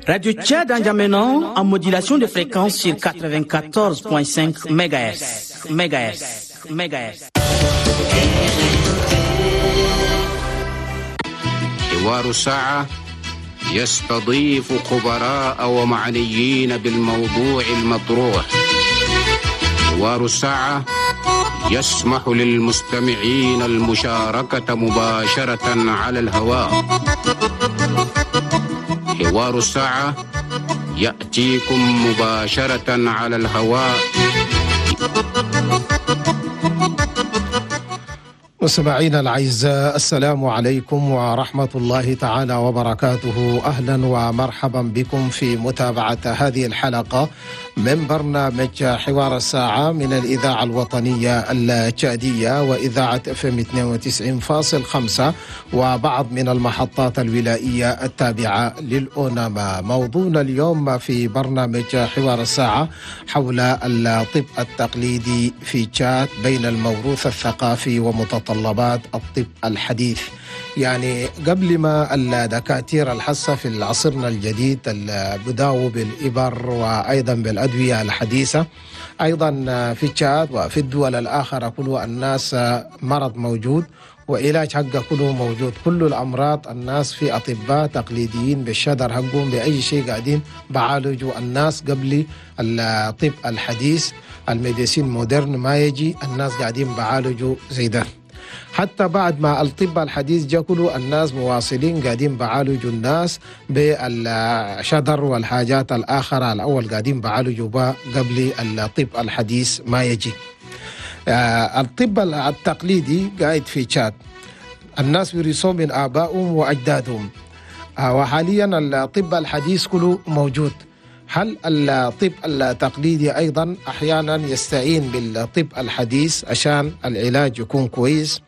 Radio Tchad N'Djamena en modulation de fréquence sur 94.5 MHz. MHz. MHz. حوار الساعة يستضيف خبراء ومعنيين بالموضوع المطروح. حوار الساعة يسمح للمستمعين المشاركة مباشرة على الهواء. حوار الساعة يأتيكم مباشرة على الهواء. مستمعينا الأعزاء، السلام عليكم ورحمة الله تعالى وبركاته. أهلا ومرحبا بكم في متابعة هذه الحلقة من برنامج حوار الساعة من الإذاعة الوطنية التشادية وإذاعة FM 92.5 وبعض من المحطات الولائية التابعة للأوناما. موضوعنا اليوم في برنامج حوار الساعة حول الطب التقليدي في تشاد بين الموروث الثقافي ومتطلبات الطب الحديث. يعني قبل ما الدكاترة الحسة في عصرنا الجديد بداوا بالإبر وأيضا بالأدوية الحديثة، أيضا في تشاد وفي الدول الآخرة كل الناس مرض موجود وعلاج حقه كله موجود، كل الأمراض الناس في أطباء تقليديين بالشدر حقهم بأي شيء قاعدين بعالجوا الناس قبل الطب الحديث ال médecine moderne ما يجي، الناس قاعدين بعالجوا زي ده. حتى بعد ما الطب الحديث جا كله الناس مواصلين قاعدين بعالجوا الناس بالشدر والحاجات الآخرة الأول قاعدين بعالجوا بها قبل الطب الحديث ما يجي. الطب التقليدي قاعد في تشاد، الناس ورثوه من آبائهم وأجدادهم، وحاليا الطب الحديث كله موجود. هل الطب التقليدي أيضا أحيانا يستعين بالطب الحديث عشان العلاج يكون كويس؟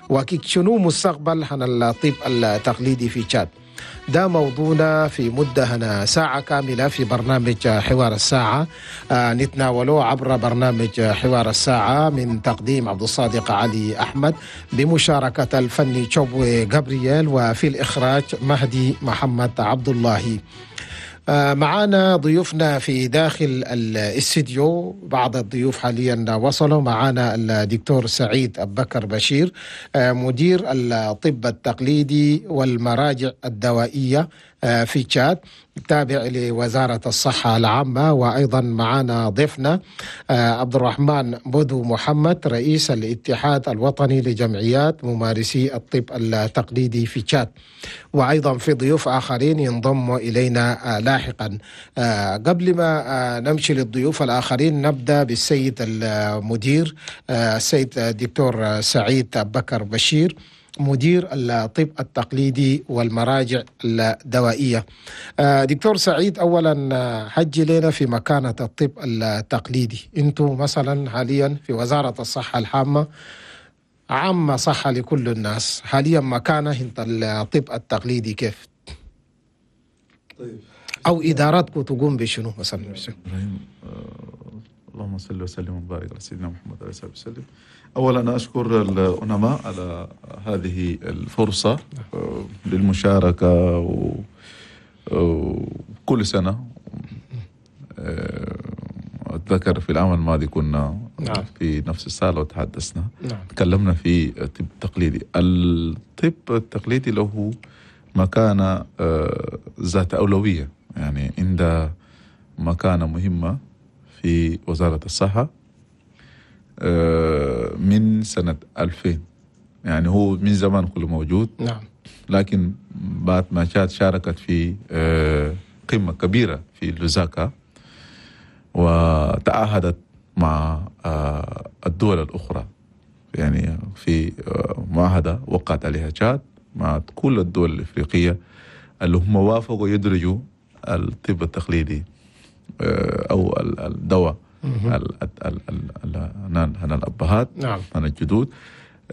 وشنو مستقبل عن الطب التقليدي في تشاد؟ ده موضوعنا في مدة هنا ساعة كاملة في برنامج حوار الساعة، نتناوله عبر برنامج حوار الساعة من تقديم عبد الصادق علي أحمد بمشاركة الفني تشوبوي جابرييل وفي الإخراج مهدي محمد عبد الله. معانا ضيوفنا في داخل الاستديو، بعض الضيوف حاليا وصلوا. معانا الدكتور سعيد أبكر بشير، مدير الطب التقليدي والمراجع الدوائية في تشاد، تابع لوزارة الصحة العامة. وأيضا معنا ضيفنا عبد الرحمن بدو محمد، رئيس الاتحاد الوطني لجمعيات ممارسي الطب التقليدي في تشاد. وأيضا في ضيوف آخرين ينضموا إلينا لاحقا. قبل ما نمشي للضيوف الآخرين نبدأ بالسيد المدير، السيد الدكتور سعيد بكر بشير، مدير الطب التقليدي والمراجع الدوائية. دكتور سعيد، أولا حجي لنا في مكانة الطب التقليدي. أنتم مثلا حاليا في وزارة الصحة العامة، عامة صحة لكل الناس، حاليا مكانة الطب التقليدي كيف؟ طيب، أو إداراتكم تقوم بشنو مثلا؟ إبراهيم، اللهم صل وسلم وبارك على سيدنا محمد عليه الصلاة والسلام. أولا أشكر الأوناما على هذه الفرصة للمشاركة، وكل سنة أتذكر في العام الماضي كنا في نفس الصالة وتحدثنا، تكلمنا في الطب التقليدي. الطب التقليدي له مكانة ذات أولوية، يعني عنده مكانة مهمة في وزارة الصحة من سنة 2000، يعني هو من زمان كله موجود. نعم. لكن بعد ما تشاد شاركت في قمة كبيرة في لوزاكا وتعهدت مع الدول الأخرى، يعني في معاهدة وقعت عليها تشاد مع كل الدول الإفريقية اللي هم وافقوا يدرجوا الطب التقليدي أو الدواء هنا الأبهات، نعم، هنا الجدود،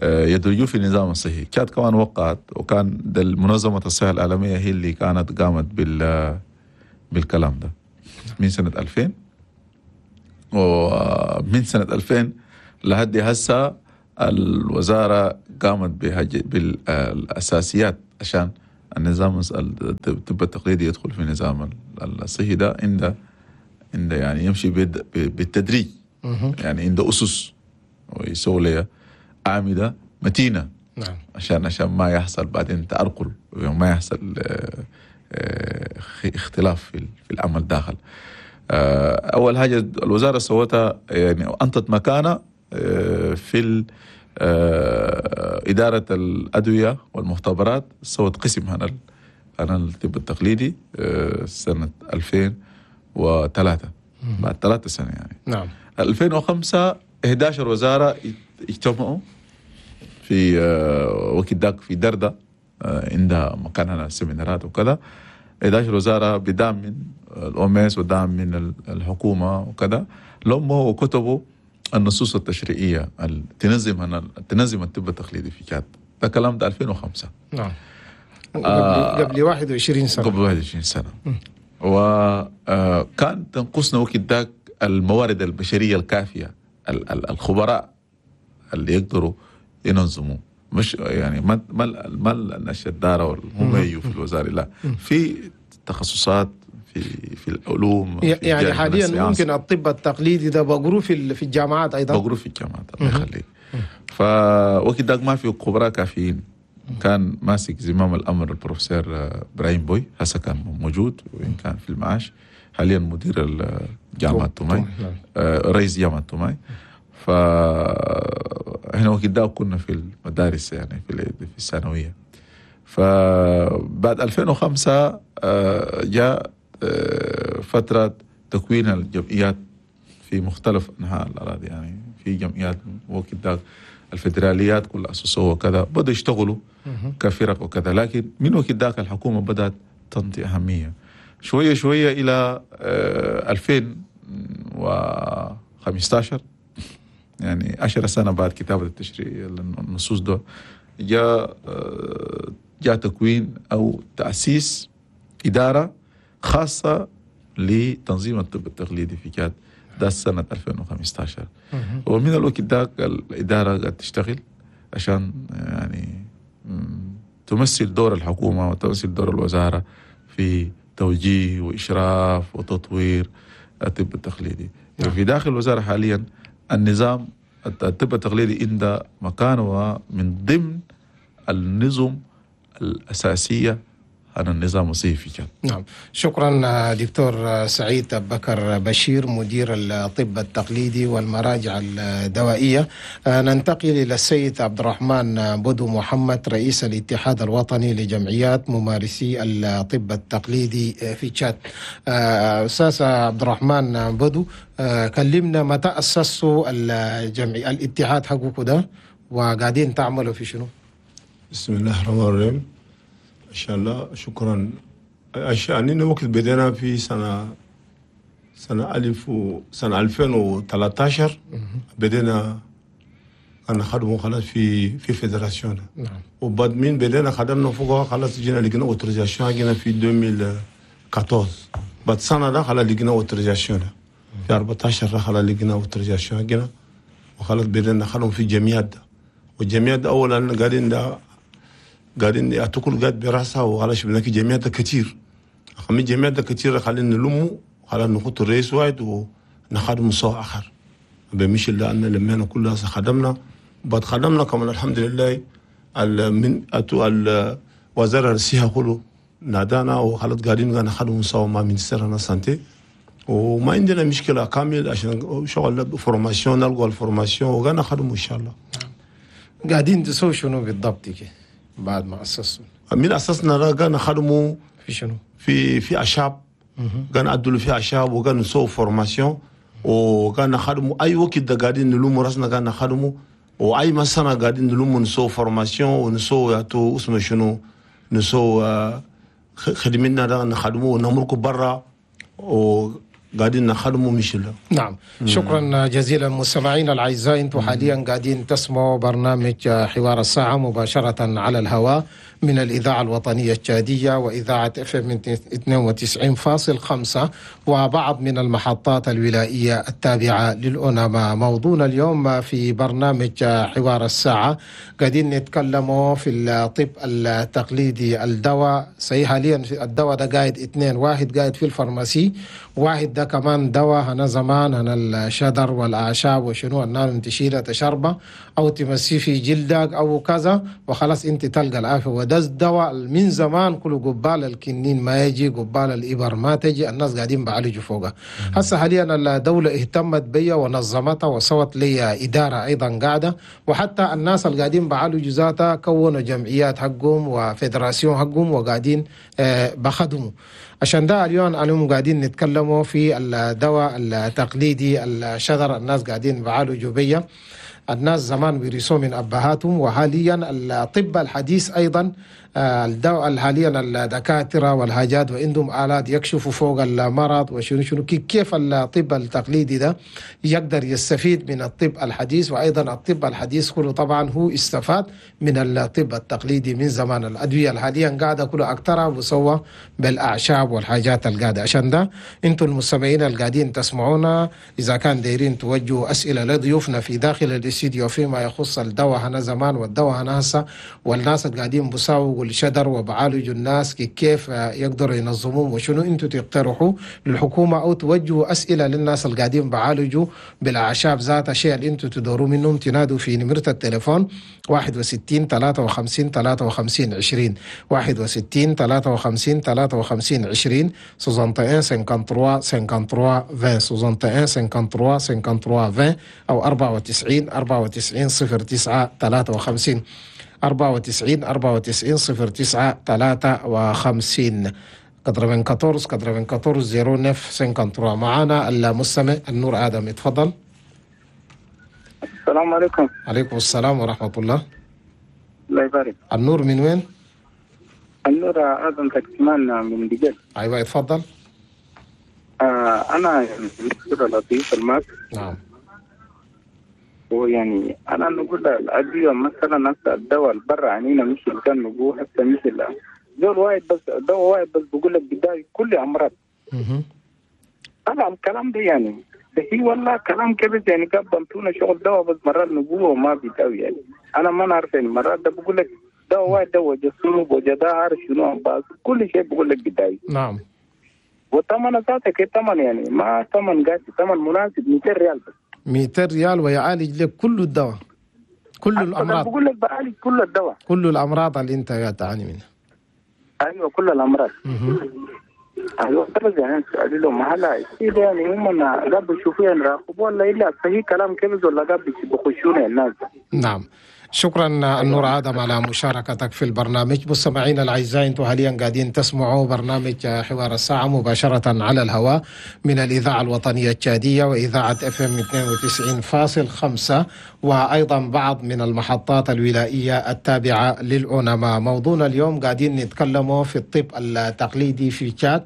يدرجوه في النظام الصحي. تشاد كمان وقعت، وكان منظمة الصحة العالمية هي اللي كانت قامت بالكلام ده من سنة 2000، ومن سنة 2000 لحد هسه الوزارة قامت بالأساسيات عشان النظام الطب التقليدي يدخل في نظام الصحي ده عند يعني يمشي بالتدريج، يعني عنده أسس ويسوي لها أعمدة متينة. نعم. عشان ما يحصل بعدين تأرقل وما يحصل اختلاف في العمل داخل. أول حاجة الوزارة سوتها يعني أنطت مكانة في إدارة الأدوية والمختبرات، سوت قسم هنا الطب التقليدي سنة 2003، بعد 3 سنة يعني. نعم. 2005 11 وزارة اجتمعوا في وقت ذاك في دردة، عندها مكان هنا سيمينارات وكذا. 11 وزارة بدعم من الأوميس ودعم من الحكومة وكذا، لموا وكتبوا النصوص التشريعية تنظم الطب التقليدي في تشاد. ده كلام ده 2005. نعم. قبل 21 سنة. قبل 21 سنة. وكان تنقصنا وقت ذاك الموارد البشرية الكافية، الخبراء اللي يقدروا ينظموا، مش يعني ما الناس الدارة هم يجوا في الوزارة، لا، في تخصصات في العلوم. يعني حاليا ممكن الطب التقليدي ده بقروه في الجامعات ايضا، بقروه في الجامعات. الله يخليك. فوقت ذاك ما في خبراء كافيين. كان ماسك زمام الامر البروفيسور ابراهيم بوي، هسه كان موجود وان كان في المعاش، حاليا مدير جامعه توماي، رئيس جامعه توماي. فاحنا وقت ذاك كنا في المدارس يعني في الثانوية. فبعد 2005 جاء فترة تكوين الجمعيات في مختلف أنحاء الأراضي، يعني في جمعيات وقت ذاك الفدراليات كلها أسسوها وكذا، بدأوا يشتغلوا كفرق وكذا. لكن من وقت ذاك الحكومة بدأت تنطي أهمية شوية شوية إلى 2015، يعني 10 سنة بعد كتابة التشريع النصوص ده، جاء تكوين أو تأسيس إدارة خاصة لتنظيم الطب التقليدي في تشاد، ده سنة 2015. ومن الوقت ذاك الإدارة قاعدة تشتغل عشان يعني تمثل دور الحكومة وتمثل دور الوزارة في توجيه وإشراف وتطوير الطب التقليدي. نعم. في داخل الوزارة حاليا النظام الطب التقليدي عند مكانه من ضمن النظم الأساسية عن النظام الصحي في تشاد. نعم، شكرا دكتور سعيد بكر بشير مدير الطب التقليدي والمراجع الدوائية. ننتقل إلى السيد عبد الرحمن بدو محمد رئيس الاتحاد الوطني لجمعيات ممارسي الطب التقليدي في تشاد. أستاذ عبد الرحمن بدو، كلمنا متى أسسوا الجمعية الاتحاد حقكم ده وقاعدين تعملوا في شنو؟ بسم الله الرحمن الرحيم. إن شاء الله، شكرا. أننا وقت بدينا في سنة 2013 بدينا كان خدموا خلاص في fédération. نعم. وبعد من بدينا خدمنا فوقها خلاص جينا لقينا autorisation جينا في 2014. بعد سنة ده خلاص لقينا autorisation في 14 خلاص لقينا autorisation جينا، وخلاص بدينا خدموا في الجمعيات ده. والجمعيات ده أولا قاعدين ده قاعدين يعتقل قاعد براسها، وخلاص بناكي جمعيات كتير. خمي جمعيات كتير خلينا نلمو، خلينا نحط الرئيس واحد ونخدم صو آخر. بمشي لأن لمينا كلها خدمنا، بعد خدمنا كمان الحمد لله من أتو الوزارة الصحة كله نادانا وخلاص قاعدين نخدم صو مع ministère santé، وما عندنا مشكلة كامل عشان شغل formation نلقى ال formation وقاعدين نخدمه إن شاء الله. قاعدين تسوي شنو بالضبط كده؟ بعد ما أسسوا من أسسنا قاعد نخدموا في شنو؟ في أعشاب، قاعد نعدلوا في أعشاب وقاعد نسوي formation وقاعد نخدموا أي وقت ده قاعدين نلوموا راسنا قاعد نخدموا، وأي مسنا قاعدين نلوموا نسوي formation ونسوي يعطوا اسمه شنو نسوي خدمنا ده نخدموا ونمركوا برا وقاعدين قاعدين نخدموا مشلا. نعم، شكرا جزيلا مستمعينا الاعزاء، انتم حاليا قاعدين تسمعوا برنامج حوار الساعة مباشرة على الهواء من الاذاعة الوطنية التشاديه واذاعة FM 92.5 وبعض من المحطات الولائيه التابعة للأوناما. موضوعنا اليوم في برنامج حوار الساعة قاعدين نتكلموا في الطب التقليدي، الدواء صحيح حاليا الدواء ده قاعد اثنين، واحد قاعد في ال pharmacie، واحد ده كمان دواء هنا زمان هنا الشدر والأعشاب وشنو النار تشيلها تشربه أو تمسيه في جلدك أو كذا وخلاص أنت تلقى العافية. وده الدواء من زمان كله قبال الكنين ما يجي، قبال الإبر ما تجي، الناس قاعدين بعالجوا فوقها. هسه حاليا الدولة اهتمت بيا ونظمتها وسوت لي إدارة أيضا قاعدة، وحتى الناس اللي قاعدين بعالجوا ذاتها كونوا جمعيات حقهم و fédération حقهم وقاعدين بخدموا. عشان ده اليوم قاعدين نتكلموا في الدواء التقليدي الشذر، الناس قاعدين بعالجوا بيا، الناس زمان بيرثوا من أبهاتهم، وحاليا الطب الحديث أيضا الدواء حاليا الدكاترة والحاجات وعندهم آلات يكشفوا فوق المرض وشنو شنو، كيف الطب التقليدي ده يقدر يستفيد من الطب الحديث. وأيضا الطب الحديث كله طبعا هو استفاد من الطب التقليدي من زمان. الأدوية حاليا قاعدة كله أكثرها بسوى بالأعشاب والحاجات القاعدة. عشان ده انتم المستمعين القاعدين تسمعونا إذا كان دايرين توجهوا أسئلة لضيوفنا في داخل الاستديو فيما يخص الدواء هنا زمان والدواء هنا هسه، والناس القاعدين بساووا الشدر وبعالجوا الناس كيف يقدروا ينظموهم وشنو انتم تقترحوا للحكومة أو توجهوا أسئلة للناس اللي قاعدين بعالجوا بالأعشاب ذاتها، شيء اللي انتم تدوروا منهم. تنادوا في نمرة التليفون 61 53 53 20، 61 53 53 20، 61 53 53 20، 61 53 53 20 أو 94 94 09 53، 94 94 09 53، 94 94 09 53. معانا المستمع النور آدم، اتفضل. السلام عليكم. عليكم السلام ورحمة الله. الله يبارك. النور من وين؟ النور آدم تكتمان من دجل. أيوة اتفضل. أنا لطيف الماك. نعم. ويعني أنا نقول الأدوية مثلا هسه الدواء البرا عنينا مش اللي كان نقول هسه مش زول واحد بس دواء واحد بس بقول لك بداية كل أمراض. طبعا الكلام ده يعني هي والله كلام كبير يعني كان بنتونا شغل دواء بس مرات نقوله وما بيتاوي يعني أنا ما نعرف يعني مرات ده بقول لك دواء واحد دواء جسوب وجدار شنو بس كل شيء بقول لك بداية. نعم. والثمن ذاتك ثمن يعني ما ثمن قاسي، ثمن مناسب 200 ريال بس. 200 ريال ويعالج لك كل الدواء، كل الأمراض. بقول لك بعالج كل الدواء، كل الأمراض اللي أنت قاعد تعاني منها. أيوة كل الأمراض. أيوة بس يعني سؤالي لهم هلا يعني هم قبل يشوفوا يراقبوا ولا إلا صحيح كلام كذا ولا قبل بخشون الناس. نعم. شكرا النور آدم على مشاركتك في البرنامج. مستمعينا الأعزاء انتم حاليا قاعدين تسمعوا برنامج حوار الساعة مباشرة على الهواء من الإذاعة الوطنية التشادية وإذاعة FM 92.5 وأيضا بعض من المحطات الولائية التابعة للأونما. موضوعنا اليوم قاعدين نتكلموا في الطب التقليدي في تشاد.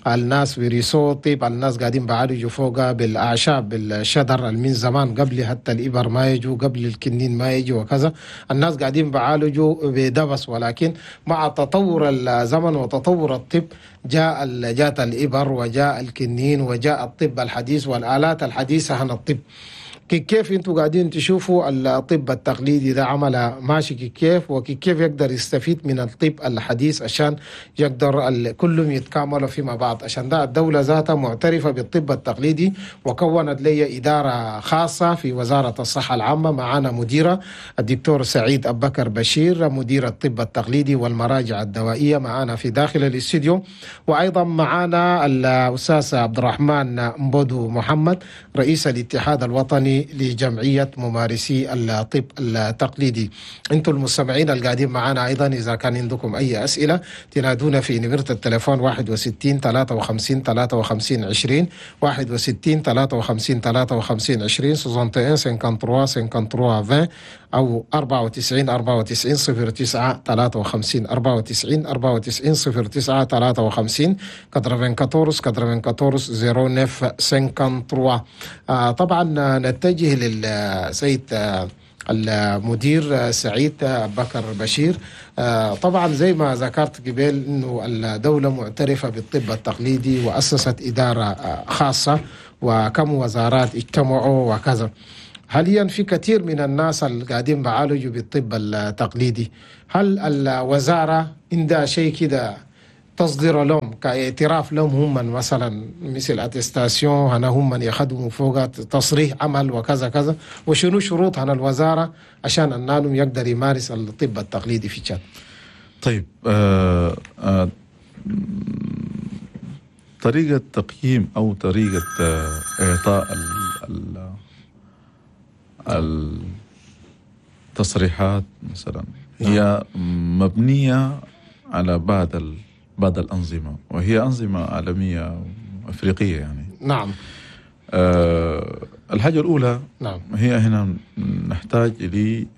الناس ورثوا طيب، الناس قاعدين بعالجوا فوقها بالأعشاب بالشدر من زمان قبل حتى الإبر ما يجوا، قبل الكنين ما يجوا وكذا، الناس قاعدين بعالجوا بدبس. ولكن مع تطور الزمن وتطور الطب جاءت الإبر وجاء الكنين وجاء الطب الحديث والآلات الحديثة عن الطب. كيف انتم قاعدين تشوفوا الطب التقليدي ده عمل ماشي كيف، وكيف يقدر يستفيد من الطب الحديث عشان يقدر كلهم يتكاملوا فيما بعض؟ عشان ده الدولة ذاتها معترفة بالطب التقليدي وكونت لي إدارة خاصة في وزارة الصحة العامة. معانا مديرة الدكتور سعيد أبكر بشير، مدير الطب التقليدي والمراجع الدوائية، معانا في داخل الاستديو. وأيضا معانا الأستاذ عبد الرحمن مبودو محمد، رئيس الاتحاد الوطني التنظيمي لجمعية ممارسي الطب التقليدي. أنتم المستمعين القاعدين معنا أيضا إذا كان عندكم أي أسئلة تنادونا في نمرة التليفون 61 53 53 20 61 53 53 20 61 53 53 20 أو 94 94 09 53 94 94 09 53 94 94 09 53. طبعا نتجه للسيد المدير سعيد بكر بشير. طبعا زي ما ذكرت قبل انه الدولة معترفة بالطب التقليدي وأسست إدارة خاصة وكم وزارات اجتمعوا وكذا. حاليا في كثير من الناس اللي قاعدين بعالجوا بالطب التقليدي، هل الوزارة عندها شيء كده تصدر لهم كاعتراف لهم هم مثلا مثل attestation هنا هم من يخدموا فوق تصريح عمل وكذا كذا، وشنو شروط هنا الوزارة عشان النانم يقدر يمارس الطب التقليدي في تشاد؟ طيب، طريقة تقييم أو طريقة إعطاء التصريحات مثلا هي مبنية على بعض الأنظمة، وهي أنظمة عالمية أفريقية يعني. نعم. الحاجة الأولى، نعم، هي هنا نحتاج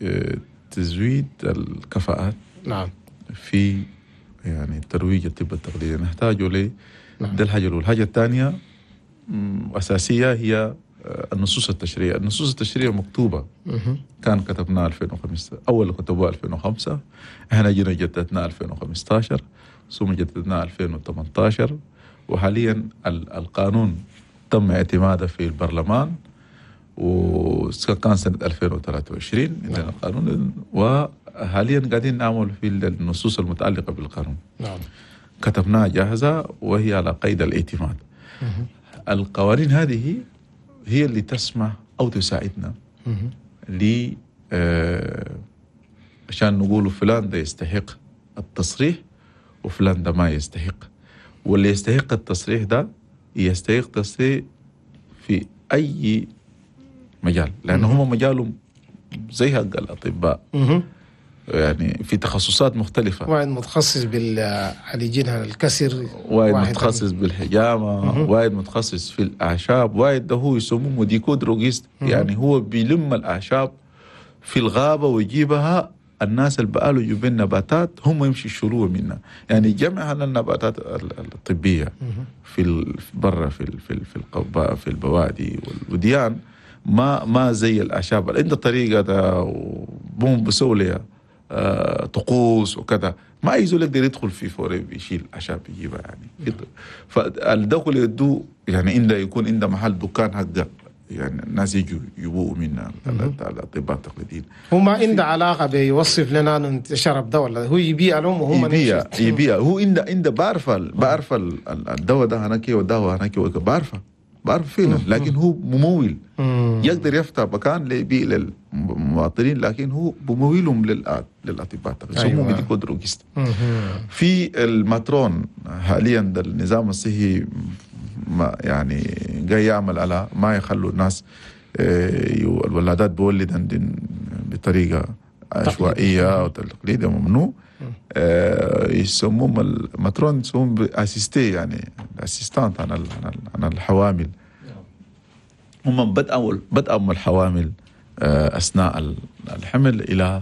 لتزويد الكفاءات. نعم. في يعني ترويج الطب التقليدي نحتاجه ل. نعم. ده الحاجة الأولى. الحاجة الثانية أساسية هي النصوص التشريعية. النصوص التشريعية مكتوبة، كان كتبناها 2005، أول كتبوها 2005، احنا جينا جددناها 2015، ثم جددناها 2018، وحاليا القانون تم اعتماده في البرلمان وكان سنة 2023 عندنا القانون، وحاليا قاعدين نعمل في النصوص المتعلقة بالقانون. نعم. كتبناها جاهزة وهي على قيد الاعتماد. القوانين هذه هي اللي تسمح أو تساعدنا ل عشان نقول فلان ده يستحق التصريح وفلان ده ما يستحق، واللي يستحق التصريح ده يستحق تصريح في أي مجال، لأن هم مجالهم زي حق الأطباء، يعني في تخصصات مختلفة. واحد متخصص بالعلاجين الكسر، واحد متخصص بالحجامة، واحد متخصص في الأعشاب، واحد ده هو يسموه médico-droguiste، يعني هو بيلم الأعشاب في الغابة ويجيبها الناس اللي بقالوا يجيبوا النباتات هم يمشي يشيلوها منها، يعني جمع النباتات الطبية في برا في في في في البوادي والوديان، ما زي الأعشاب عنده طريقة ده وبوم بسوي لها طقوس وكذا، ما أي زول يقدر يدخل في forêt بيشيل أعشاب يجيبها يعني. فالدخل يدو يعني عنده يكون عنده محل دكان حقه، يعني الناس يجوا يبووا منا الاطباء التقليديين. هو ما عنده علاقة بيوصف لنا انه شرب دواء ولا هو يبيع لهم وهم يبيع هو عنده بعرف الدواء ده هناك والدواء هناك بعرف فعلا، لكن هو ممول يقدر يفتح مكان ليبيع للمواطنين، لكن هو بمويلهم للاطباء التقليديين، يسموه médico-droguiste. في ال matrone حاليا ده النظام الصحي ما يعني جاي يعمل على ما يخلوا الناس الولادات بولد بطريقة عشوائية وتقليدية ممنوع. يسموهم ال matrone، يسموهم assister، يعني assistante عن الحوامل. هم بدأوا الحوامل أثناء الحمل إلى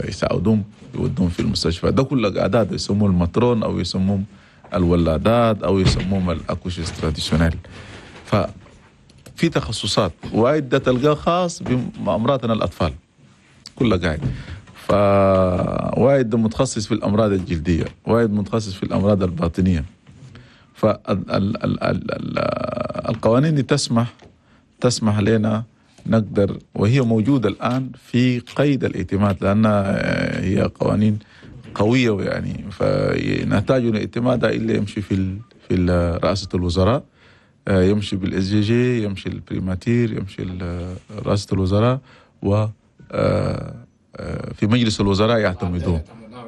يساعدون يودون في المستشفى. ده كله قعدات يسموه ال matrone أو يسموهم الولادات أو يسموهم ال accoucheuses traditionnelles. ففي تخصصات وايد ده تلقاه خاص بأمراضنا الأطفال كلها قاعد. فوايد ده متخصص في الأمراض الجلدية، وايد متخصص في الأمراض الباطنية. فالقوانين دي تسمح لنا نقدر، وهي موجودة الآن في قيد الاعتماد لأنها هي قوانين قوية يعني، فنحتاج الاعتماد إلا يمشي في رئاسة الوزراء، يمشي بال SGG، يمشي ال primature، يمشي رئاسة الوزراء، و في مجلس الوزراء يعتمدوه.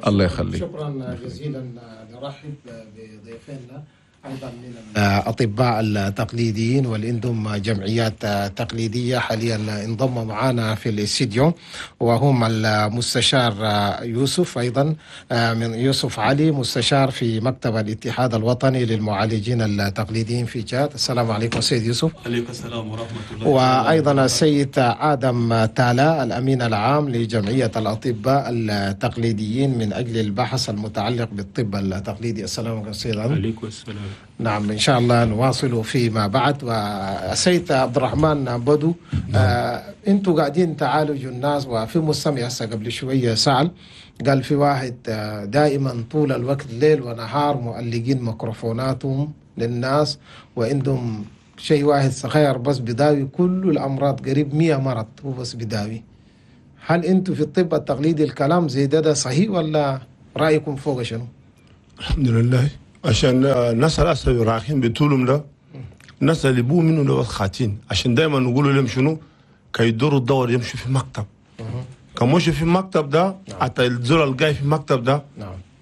الله يخليك. شكرا جزيلا. نرحب بضيفنا أيضا من الأطباء التقليديين واللي عندهم جمعيات تقليدية حاليا انضم معنا في الاستديو، وهم المستشار يوسف، أيضا من يوسف علي، مستشار في مكتب الاتحاد الوطني للمعالجين التقليديين في تشاد. السلام عليكم سيد يوسف. عليكم السلام ورحمة الله. وأيضا السيد آدم تالا، الأمين العام لجمعية الأطباء التقليديين من أجل البحث المتعلق بالطب التقليدي. السلام عليكم سيد آدم. عليكم السلام. نعم، إن شاء الله نواصل فيما بعد. والسيد عبد الرحمن بدو، انتوا قاعدين تعالجوا الناس، وفي مستمع هسه قبل شوية سأل، قال في واحد دائما طول الوقت ليل ونهار مؤلقين ميكروفوناتهم للناس، وعندهم شيء واحد صغير بس بداوي كل الأمراض، قريب 100 مرض هو بس بداوي. هل انتوا في الطب التقليدي الكلام زي ده صحيح ولا رأيكم فوق شنو؟ الحمد لله، عشان الناس الأسوي رايحين بطولهم ده، الناس اللي بو منه ده خاتين، عشان دايما نقولوا لهم شنو كي يدوروا الدور يمشوا في مكتب. كان مشوا في المكتب ده، حتى الزول الجاي في المكتب ده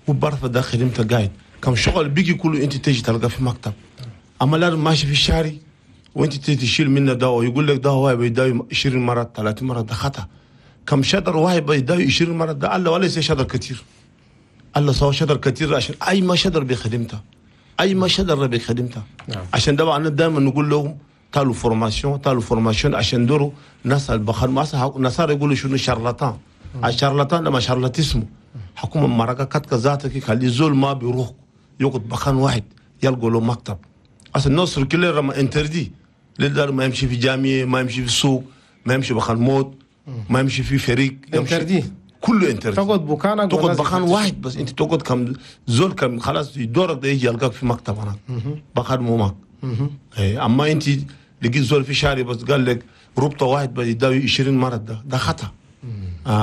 هو بعرف ده خدمته قاعد، كم شغل بيجي كله انت تيجي تلقى في مكتب. اما لا ماشي في الشارع وانت تيجي تشيل منه دواء ويقول لك ده هو بيداوي 20 مرة 30 مرة، ده خطأ. كم شجر واحد بيداوي 20 مرة ده الله ولا يصير شجر كتير. الله سوى شجر كتير عشان اي ما شجر بخدمته، اي ما شجر بخدمته. عشان ده انا دائما نقول لهم تعالوا formation، تعالوا formation، عشان دوروا ناس البخار ما ناس يقولوا شنو charlatan. ال charlatan لما charlatanisme حكومة مرقه كتك ذاتك خلي زول ما بيروح يقعد بخان واحد يلقوا له مكتب. اصل الناس كلها ما interdit للدار، ما يمشي في جامعه، ما يمشي في السوق، ما يمشي بخان موت، ما يمشي في فريق، interdit كله interdit. تقعد بكانك، تقعد بخان واحد بس، انت تقعد كم زول كم خلاص دورك ده يجي يلقاك في مكتب هناك بخان مومك. اما انت لقيت زول في شارع بس قال لك ربطه واحد بيداوي 20 مرة، ده خطا.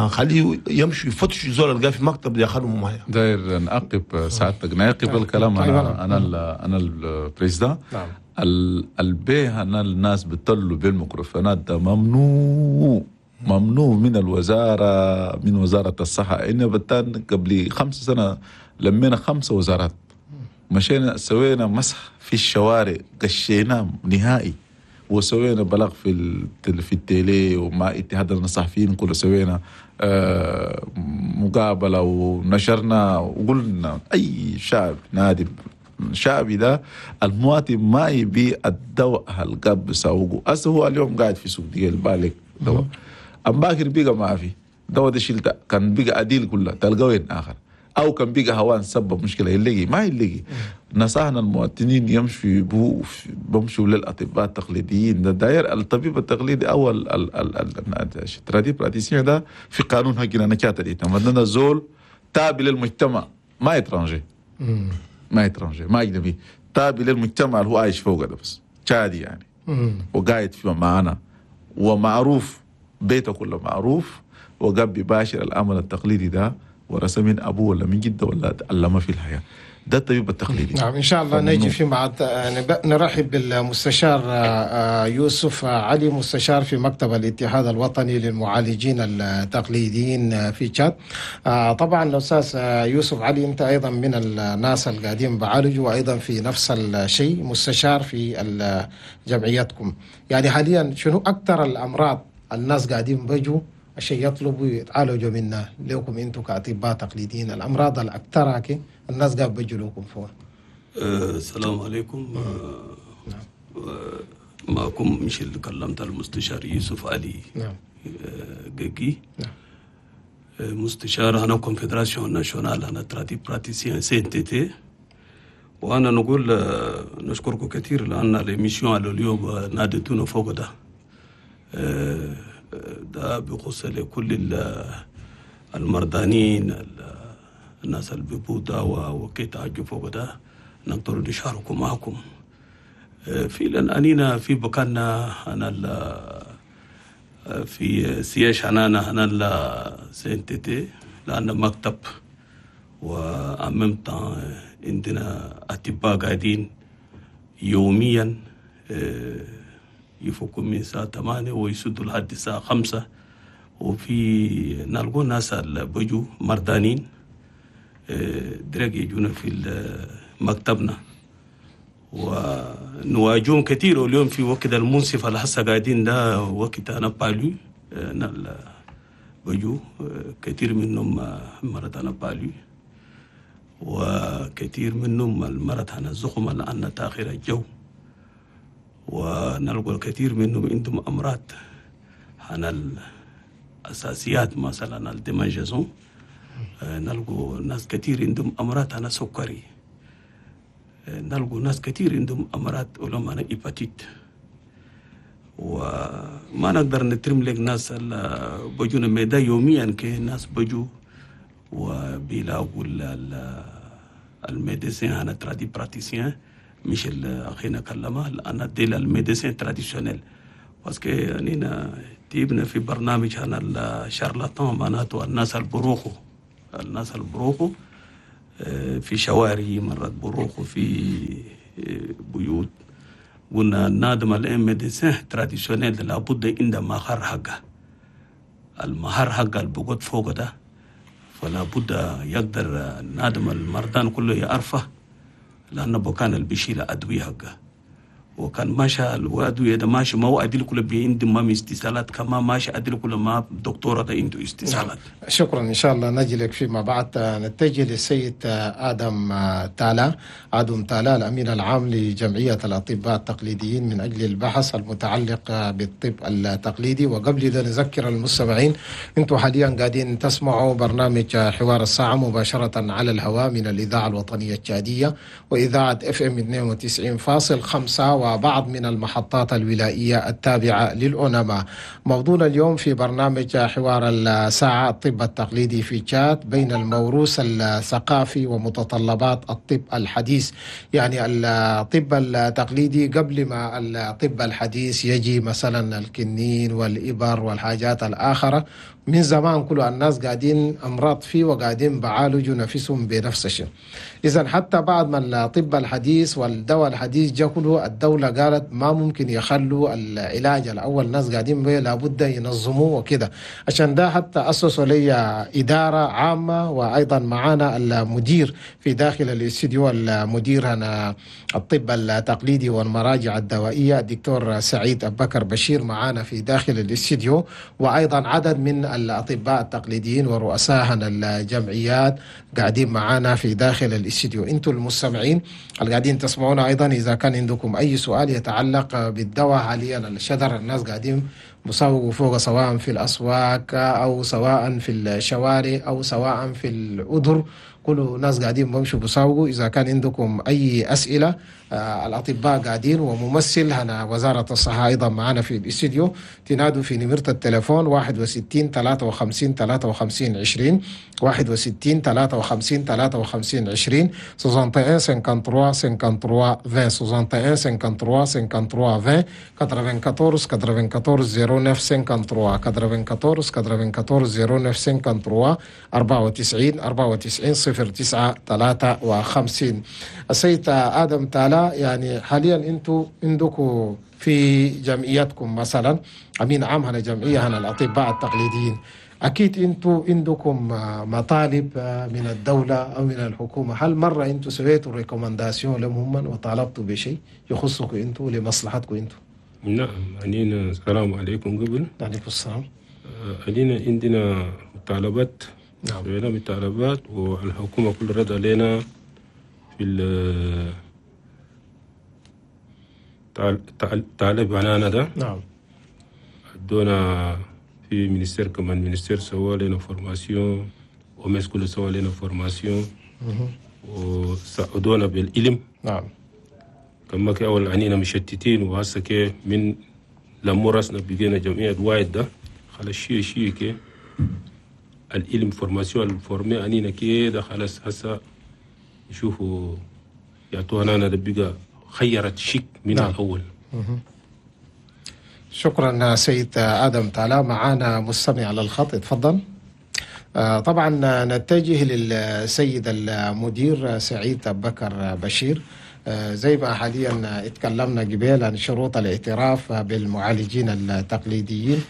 خليه يمشي يفتش زول القاه في مكتب ياخذهم معايا. داير نعقب سعادتك، نعقب الكلام. انا ال président. نعم. البيه انا الناس بتطلوا بالميكروفونات ده ممنوع، ممنوع من الوزارة، من وزارة الصحة. إن بتان قبل 5 سنة لمينا 5 وزارات، مشينا سوينا مسح في الشوارع، قشيناه نهائي، وسوينا بلاغ في ال télé ومع اتحاد الصحفيين كله، سوينا مقابلة ونشرنا وقلنا أي شعب نادي شعبي ده المواطن ما يبي الدواء هالقب بسوقه. أصل هو اليوم قاعد في سوق ديال بالك دواء أم باكر بيقى ما في دواء ده شلته كان بيقى أديل كله تلقى وين آخر، أو كان بيقى هوان سبب مشكلة يلاقي ما يلاقي. نصحنا المواطنين يمشوا بمشوا للأطباء التقليديين. ده داير الطبيب التقليدي أو ال tradipraticien ده في قانون هكذا نكاتة مثلا زول تابع للمجتمع، ما étranger، ما étranger، ما أجنبي، تابع للمجتمع اللي هو عايش فوق ده بس تشادي يعني، وقاعد في معانا ومعروف بيته كله معروف، وقاب باشر العمل التقليدي ده ورثه من ابوه ولا من جده ولا علمه في الحياة. ده الطبيب التقليدي. نعم ان شاء الله نجي في مع نرحب بالمستشار يوسف علي، مستشار في مكتب الاتحاد الوطني للمعالجين التقليديين في تشاد. طبعا الاستاذ يوسف علي انت ايضا من الناس القاعدين بعالجوا، وايضا في نفس الشيء مستشار في جمعيتكم. يعني حاليا شنو اكثر الامراض الناس قاعدين بيجوا عشان يطلبوا يتعالجوا منها لكم انتم كاطباء تقليديين، الامراض الاكثر الناس قاعد بيجوا لكم فوق؟ السلام عليكم. نعم. معكم مش اللي كلمت المستشار يوسف علي. نعم. جيجي. نعم. مستشار هنا confédération nationale هنا tradipraticiens CNTT. وانا نقول نشكركم كثير لان l'émission على اليوم ناديتونا فوق ده ده بيخص لكل المرضانين، الناس اللي بيبوا دواء وكي فوق ده نقدر نشاركوا معكم. فعلا أنينا في بكاننا أنا في siège هنا أنا CNTT لأن مكتب، وأممت عندنا أطباء قاعدين يوميا يفكوا من الساعة 8 ويسدوا لحد الساعة 5، وفي نلقوا ناس اللي بيجوا مردانين درج يجونا في مكتبنا. ونواجههم كثير. واليوم في وقت المنصف اللي هسه قاعدين ده وقت أنا palu بجو كثير منهم مرض أنا palu، وكثير منهم المرض أنا الزخم لأن تأخير الجو، ونلقى الكثير منهم عندهم أمراض عن الأساسيات مثلا ال démangeaisons، نلقوا ناس كثير عندهم أمراض عن سكري، نلقوا ناس كثير عندهم أمراض ولهم أنا hépatite. وما نقدر نترم لك ناس بجونا ميدا يوميا، كي ناس بجو وبيلاقوا ال médecin أنا tradipraticien مش أخينا كلمة لأن ديل ال médecin traditionnel، parce que أنينا تيبنا في برنامج هنا ال charlatan، معناته الناس البروخو، الناس البروخو في شوارع مرات بروخو في بيوت. قلنا نادم ال médecin traditionnel لابد عند مهر حقه، المهر حقه اللي فوق ده، فلا بد يقدر نادم المردان كله يعرفه، لأنه بكان اللي بيشيل أدوية حقه، وكان ماشى الأدوية ده ماشي ما هو أدل كله بيند ما استثالات، كما ماشي أدل كله ما دكتورة ده عنده استثالات. نعم. شكرا، إن شاء الله نجي لك فيما بعد. نتجه للسيد آدم تالا، آدم تالا الأمين العام لجمعية الأطباء التقليديين من أجل البحث المتعلق بالطب التقليدي. وقبل ذا نذكر المستمعين أنتم حاليا قاعدين تسمعوا برنامج حوار الساعة مباشرة على الهواء من الإذاعة الوطنية التشادية وإذاعة FM 92.5 وبعض من المحطات الولائية التابعة للأونما. موضوعنا اليوم في برنامج حوار الساعة الطب التقليدي في تشاد بين الموروث الثقافي ومتطلبات الطب الحديث. يعني الطب التقليدي قبل ما الطب الحديث يجي مثلا الكنين والإبر والحاجات الآخرة، من زمان كل الناس قاعدين أمراض فيه وقاعدين بعالجوا نفسهم بنفس الشيء. إذن حتى بعد ما الطب الحديث والدواء الحديث جاء كله، الدولة قالت ما ممكن يخلوا العلاج الأول الناس قاعدين به، لابد ينظموه وكده. عشان ده حتى أسسوا لي إدارة عامة، وأيضا معانا المدير في داخل الاستديو، المدير هنا الطب التقليدي والمراجع الدوائية الدكتور سعيد أبو بكر بشير معانا في داخل الاستديو، وأيضا عدد من الأطباء التقليديين ورؤساء الجمعيات قاعدين معانا في داخل الاستديو. انتم المستمعين اللي قاعدين تسمعونا أيضا، إذا كان عندكم أي سؤال يتعلق بالدواء حاليا الشجر الناس قاعدين مساوقوا فوق، سواء في الأسواق أو سواء في الشوارع أو سواء في الأدر، كل ناس قاعدين بمشوا بساوقوا. إذا كان عندكم أي أسئلة الأطباء قاعدين، وممثل هنا وزارة الصحة أيضا معنا في الاستديو. تنادوا في نمرة التليفون 61 53 53 20، 61 53 53 20، 61 53 53 20، 61 53 53 20، 94 94 09 53، 94 94 09 53، 94 94 09 53. السيد آدم تالا، يعني حاليا انتم عندكم في جمعيتكم مثلا امين عام هنا جمعيه هنا الاطباء التقليديين، اكيد انتم عندكم مطالب من الدوله او من الحكومه. هل مره انتم سويتوا recommandation لهم وطالبتوا بشيء يخصكم انتم لمصلحتكم انتم؟ نعم، علينا السلام عليكم. قبل عليكم السلام. علينا عندنا مطالبات. نعم. سوينا مطالبات والحكومه كل رد علينا في طالب عنانا ده. نعم. ادونا في ministère، كمان ministère سوى لنا formation، OMS كله سوى لنا formation وساعدونا بالعلم. نعم. كما كي اول عنينا مشتتين، وهسه كي من لما راسنا بقينا جمعية واحد ده خلاص شيء كي العلم formation ال formé عنينا كي ده خلاص هسه يشوفوا يعطونا انا ده بقى خيرت شيك من. نعم. الأول. شكرا سيد آدم تالا. معانا مستمع على الخط، اتفضل. طبعا نتجه للسيد المدير سعيد أبو بكر بشير. زي ما حاليا اتكلمنا قبل عن شروط الاعتراف بالمعالجين التقليديين،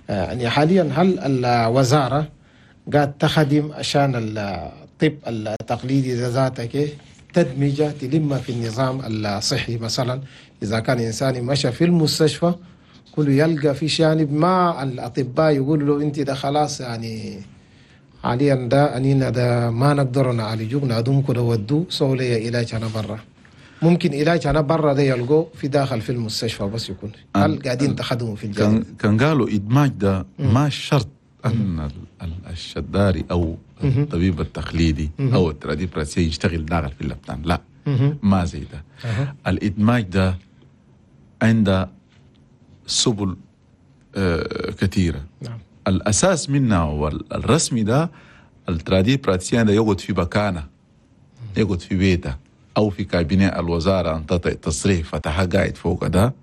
يعني حاليا هل الوزارة قاعد تخدم عشان الطب التقليدي ذاتك تدمجه تلمها في النظام الصحي؟ مثلا إذا كان إنسان مشى في المستشفى كله يلقى في جانب ما الأطباء يقولوا له أنت ده خلاص يعني حاليا ده أنينا ده ما نقدر نعالجوك، نادمك ده ودو سووا لي علاج أنا برا. ممكن علاج أنا برا ده يلقوه في داخل في المستشفى بس يكون هل قاعدين تخدموا في الجانب؟ كان قالوا إدماج ده ما شرط أن الشداري أو الطبيب التقليدي أو ال tradipraticien يشتغل داخل في اللبنان، لا ما زي ده. الإدماج ده عنده سبل كثيرة. نعم. الأساس منها والرسمي ده ال tradipraticien ده يقعد في مكانه، يقعد في بيته أو في cabinet الوزارة أن تعطي تصريح فتح قاعد فوق ده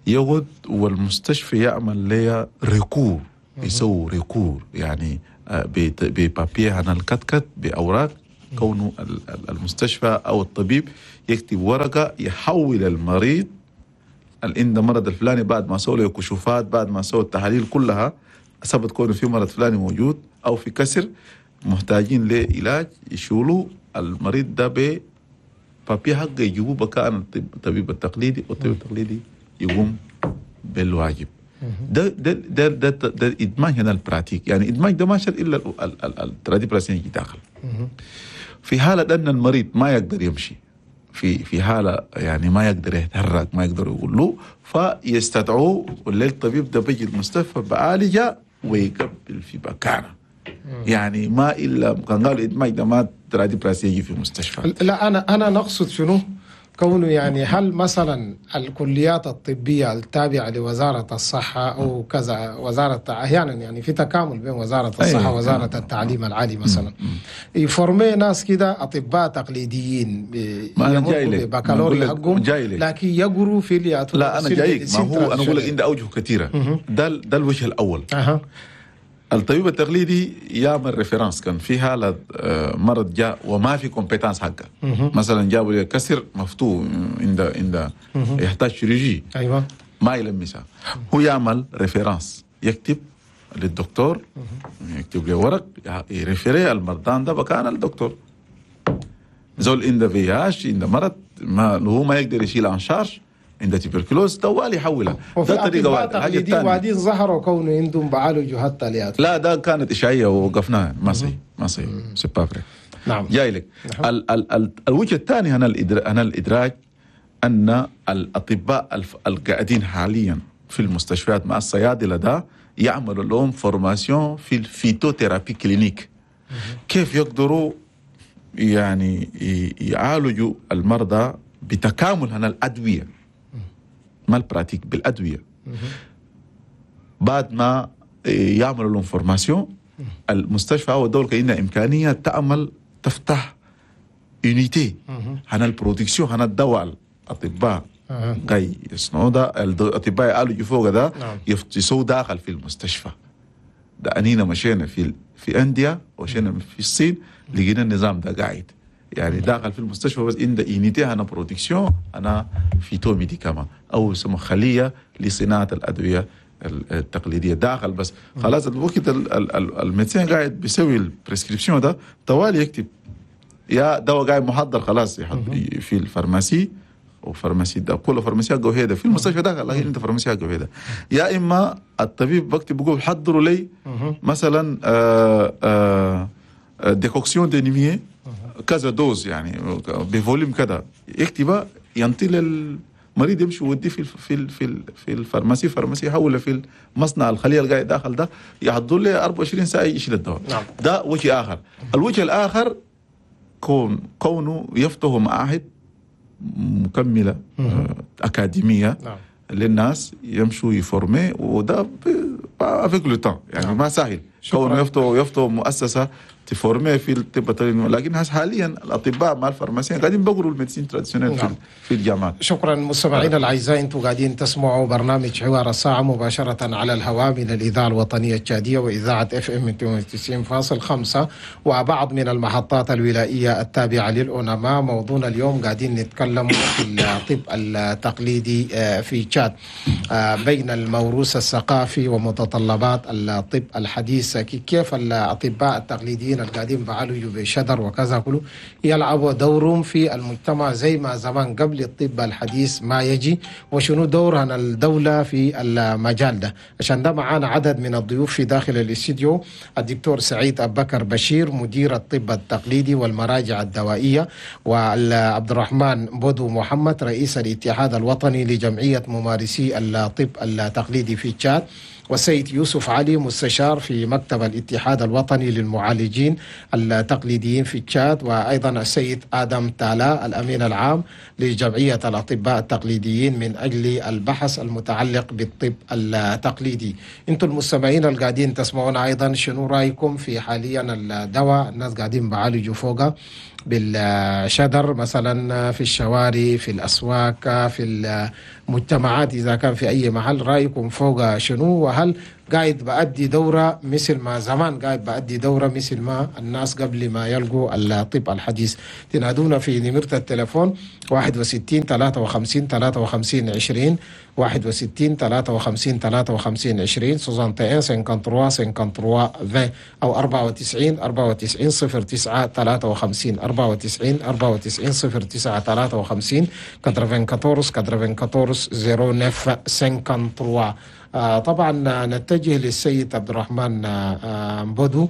يقعد، والمستشفى يعمل ليه recours، يسوي recours يعني ب papier عن الكتكت بأوراق، كونه المستشفى أو الطبيب يكتب ورقة يحول المريض اللي عنده مرض الفلاني بعد ما سووا له كشوفات، بعد ما سووا التحاليل كلها ثبت كونه في مرض فلاني موجود أو في كسر محتاجين لعلاج، يشولوا المريض ده ب papier حقه يجيبوه بكان الطبيب التقليدي، والطبيب التقليدي يقوم بالواجب. ده ده ده ده, ده ادماج هنا ال pratique، يعني ادماج ده ما شرط الا ال tradipraticien يجي داخل. في حاله ان المريض ما يقدر يمشي، في حاله يعني ما يقدر يتحرك، ما يقدر يقول له، فيستدعوه والليل الطبيب ده بيجي المستشفى بعالجه ويقبل في مكانه. يعني ما الا كان قالوا ادماج ده ما tradipraticien يجي في المستشفى. لا انا نقصد شنو؟ كونه يعني هل مثلا الكليات الطبية التابعة لوزارة الصحة أو كذا وزارة، أحيانا يعني في تكامل بين وزارة الصحة ووزارة التعليم العالي مثلا، يفورمي ناس كده أطباء تقليديين بكالوريا حقهم، لكن يقروا في اللي. لا أنا جايك، ما هو أنا أقول لك عندي أوجه كثيرة. ده الوجه الأول. الطبيب التقليدي يعمل référence، كان في حالة مرض جاء وما في compétence حقه، مثلا جابوا لي كسر مفتوح عند يحتاج chirurgie، ايوه ما يلمسها، هو يعمل référence، يكتب للدكتور، يكتب له ورق ي référer المرضان ده بكان الدكتور زول عنده VIH، عنده مرض ما هو ما يقدر يشيل en charge، عند tuberculose طوال يحولها. ده طريقه واحدة. الحاجة الثانية وبعدين ظهروا كونه عندهم بعالجوا حتى ليات. لا ده كانت اشاعيه ووقفناها، ما صحيح ما صحيح، c'est pas vrai. نعم جاي لك. الوجه الثاني هنا الادراج ان الاطباء القاعدين حاليا في المستشفيات مع الصيادله ده يعملوا لهم formation في ال phytothérapie clinique، كيف يقدروا يعني يعالجوا المرضى بتكامل هنا الادوية، ما ال pratique بالأدوية. بعد ما يعملوا لهم formation المستشفى أو الدولة كأنها إمكانية تعمل تفتح unité هنا ال production هنا الدواء الأطباء جاي يصنعوا ده، الأطباء يعالجوا فوق ده يسووا داخل في المستشفى ده. أنينا مشينا في أنديا ومشينا في الصين لقينا النظام ده قاعد يعني داخل في المستشفى، بس عند unité هنا production انا phytomédicaments او يسمى خليه لصناعة الادوية التقليدية داخل بس. خلاص الوقت ال médecin قاعد بيسوي ال prescription ده طوال يكتب يا دواء قاعد محضر خلاص في ال pharmacie، و pharmacie ده كل pharmacie قوي في المستشفى داخل، لكن انت pharmacie قوي. يا اما الطبيب بكتب بيقول حضروا لي مثلا décoction de nimier كذا dose يعني ب volume كذا، يكتبها ينطي للمريض يمشي ويوديه في في في في ال pharmacie، pharmacie يحوله في المصنع الخلية اللي قاعد داخل ده يحضر له 24 ساعة يشيل الدواء. نعم. ده وجه اخر. الوجه الاخر كونه يفتحوا معاهد مكملة اكاديمية. نعم. للناس يمشوا يفورمي، وده avec le temps يعني. نعم. ما سهل كونه يفتحوا مؤسسة تفورمي في الطب التقليدي، لكن حاليا الاطباء مع ال pharmaciens قاعدين بقروا ال médecine traditionnelle. نعم. في الجامعات. شكرا مستمعينا الاعزاء، انتم قاعدين تسمعوا برنامج حوار الساعة مباشرة على الهواء من الاذاعة الوطنية التشاديه واذاعة FM 92.5 وبعض من المحطات الولائيه التابعة للأونما. موضوعنا اليوم قاعدين نتكلم في الطب التقليدي في تشاد، بين الموروث الثقافي ومتطلبات الطب الحديث، كيف الاطباء التقليديين التقليديين القاعدين بعالجوا بشدر وكذا كله يلعبوا دورهم في المجتمع زي ما زمان قبل الطب الحديث ما يجي، وشنو دورها الدولة في المجال ده. عشان ده معانا عدد من الضيوف في داخل الاستديو: الدكتور سعيد أبو بكر بشير مدير الطب التقليدي والمراجع الدوائية، وعبد الرحمن بودو محمد رئيس الاتحاد الوطني لجمعية ممارسي الطب التقليدي في تشاد، والسيد يوسف علي مستشار في مكتب الاتحاد الوطني للمعالجين التقليديين في تشاد، وأيضا السيد آدم تالا الأمين العام لجمعية الأطباء التقليديين من أجل البحث المتعلق بالطب التقليدي. انتم المستمعين القاعدين تسمعون أيضا، شنو رأيكم في حاليا الدواء الناس قاعدين بعالجوا فوقه بالشدر مثلا في الشوارع، في الأسواق، في المجتمعات، إذا كان في أي محل، رأيكم فوق شنو؟ وهل قاعد بأدي دورة مثل ما زمان قاعد بأدي دورة مثل ما الناس قبل ما يلقوا الطب الحديث؟ تنادونا في نمرة التلفون 61 53 53 20، 61 53 53 20، 61 53 53 20، أو 94 94 09 53، 94 94 09 53، 94 94 09 53. طبعا نتجه للسيد عبد الرحمن بودو.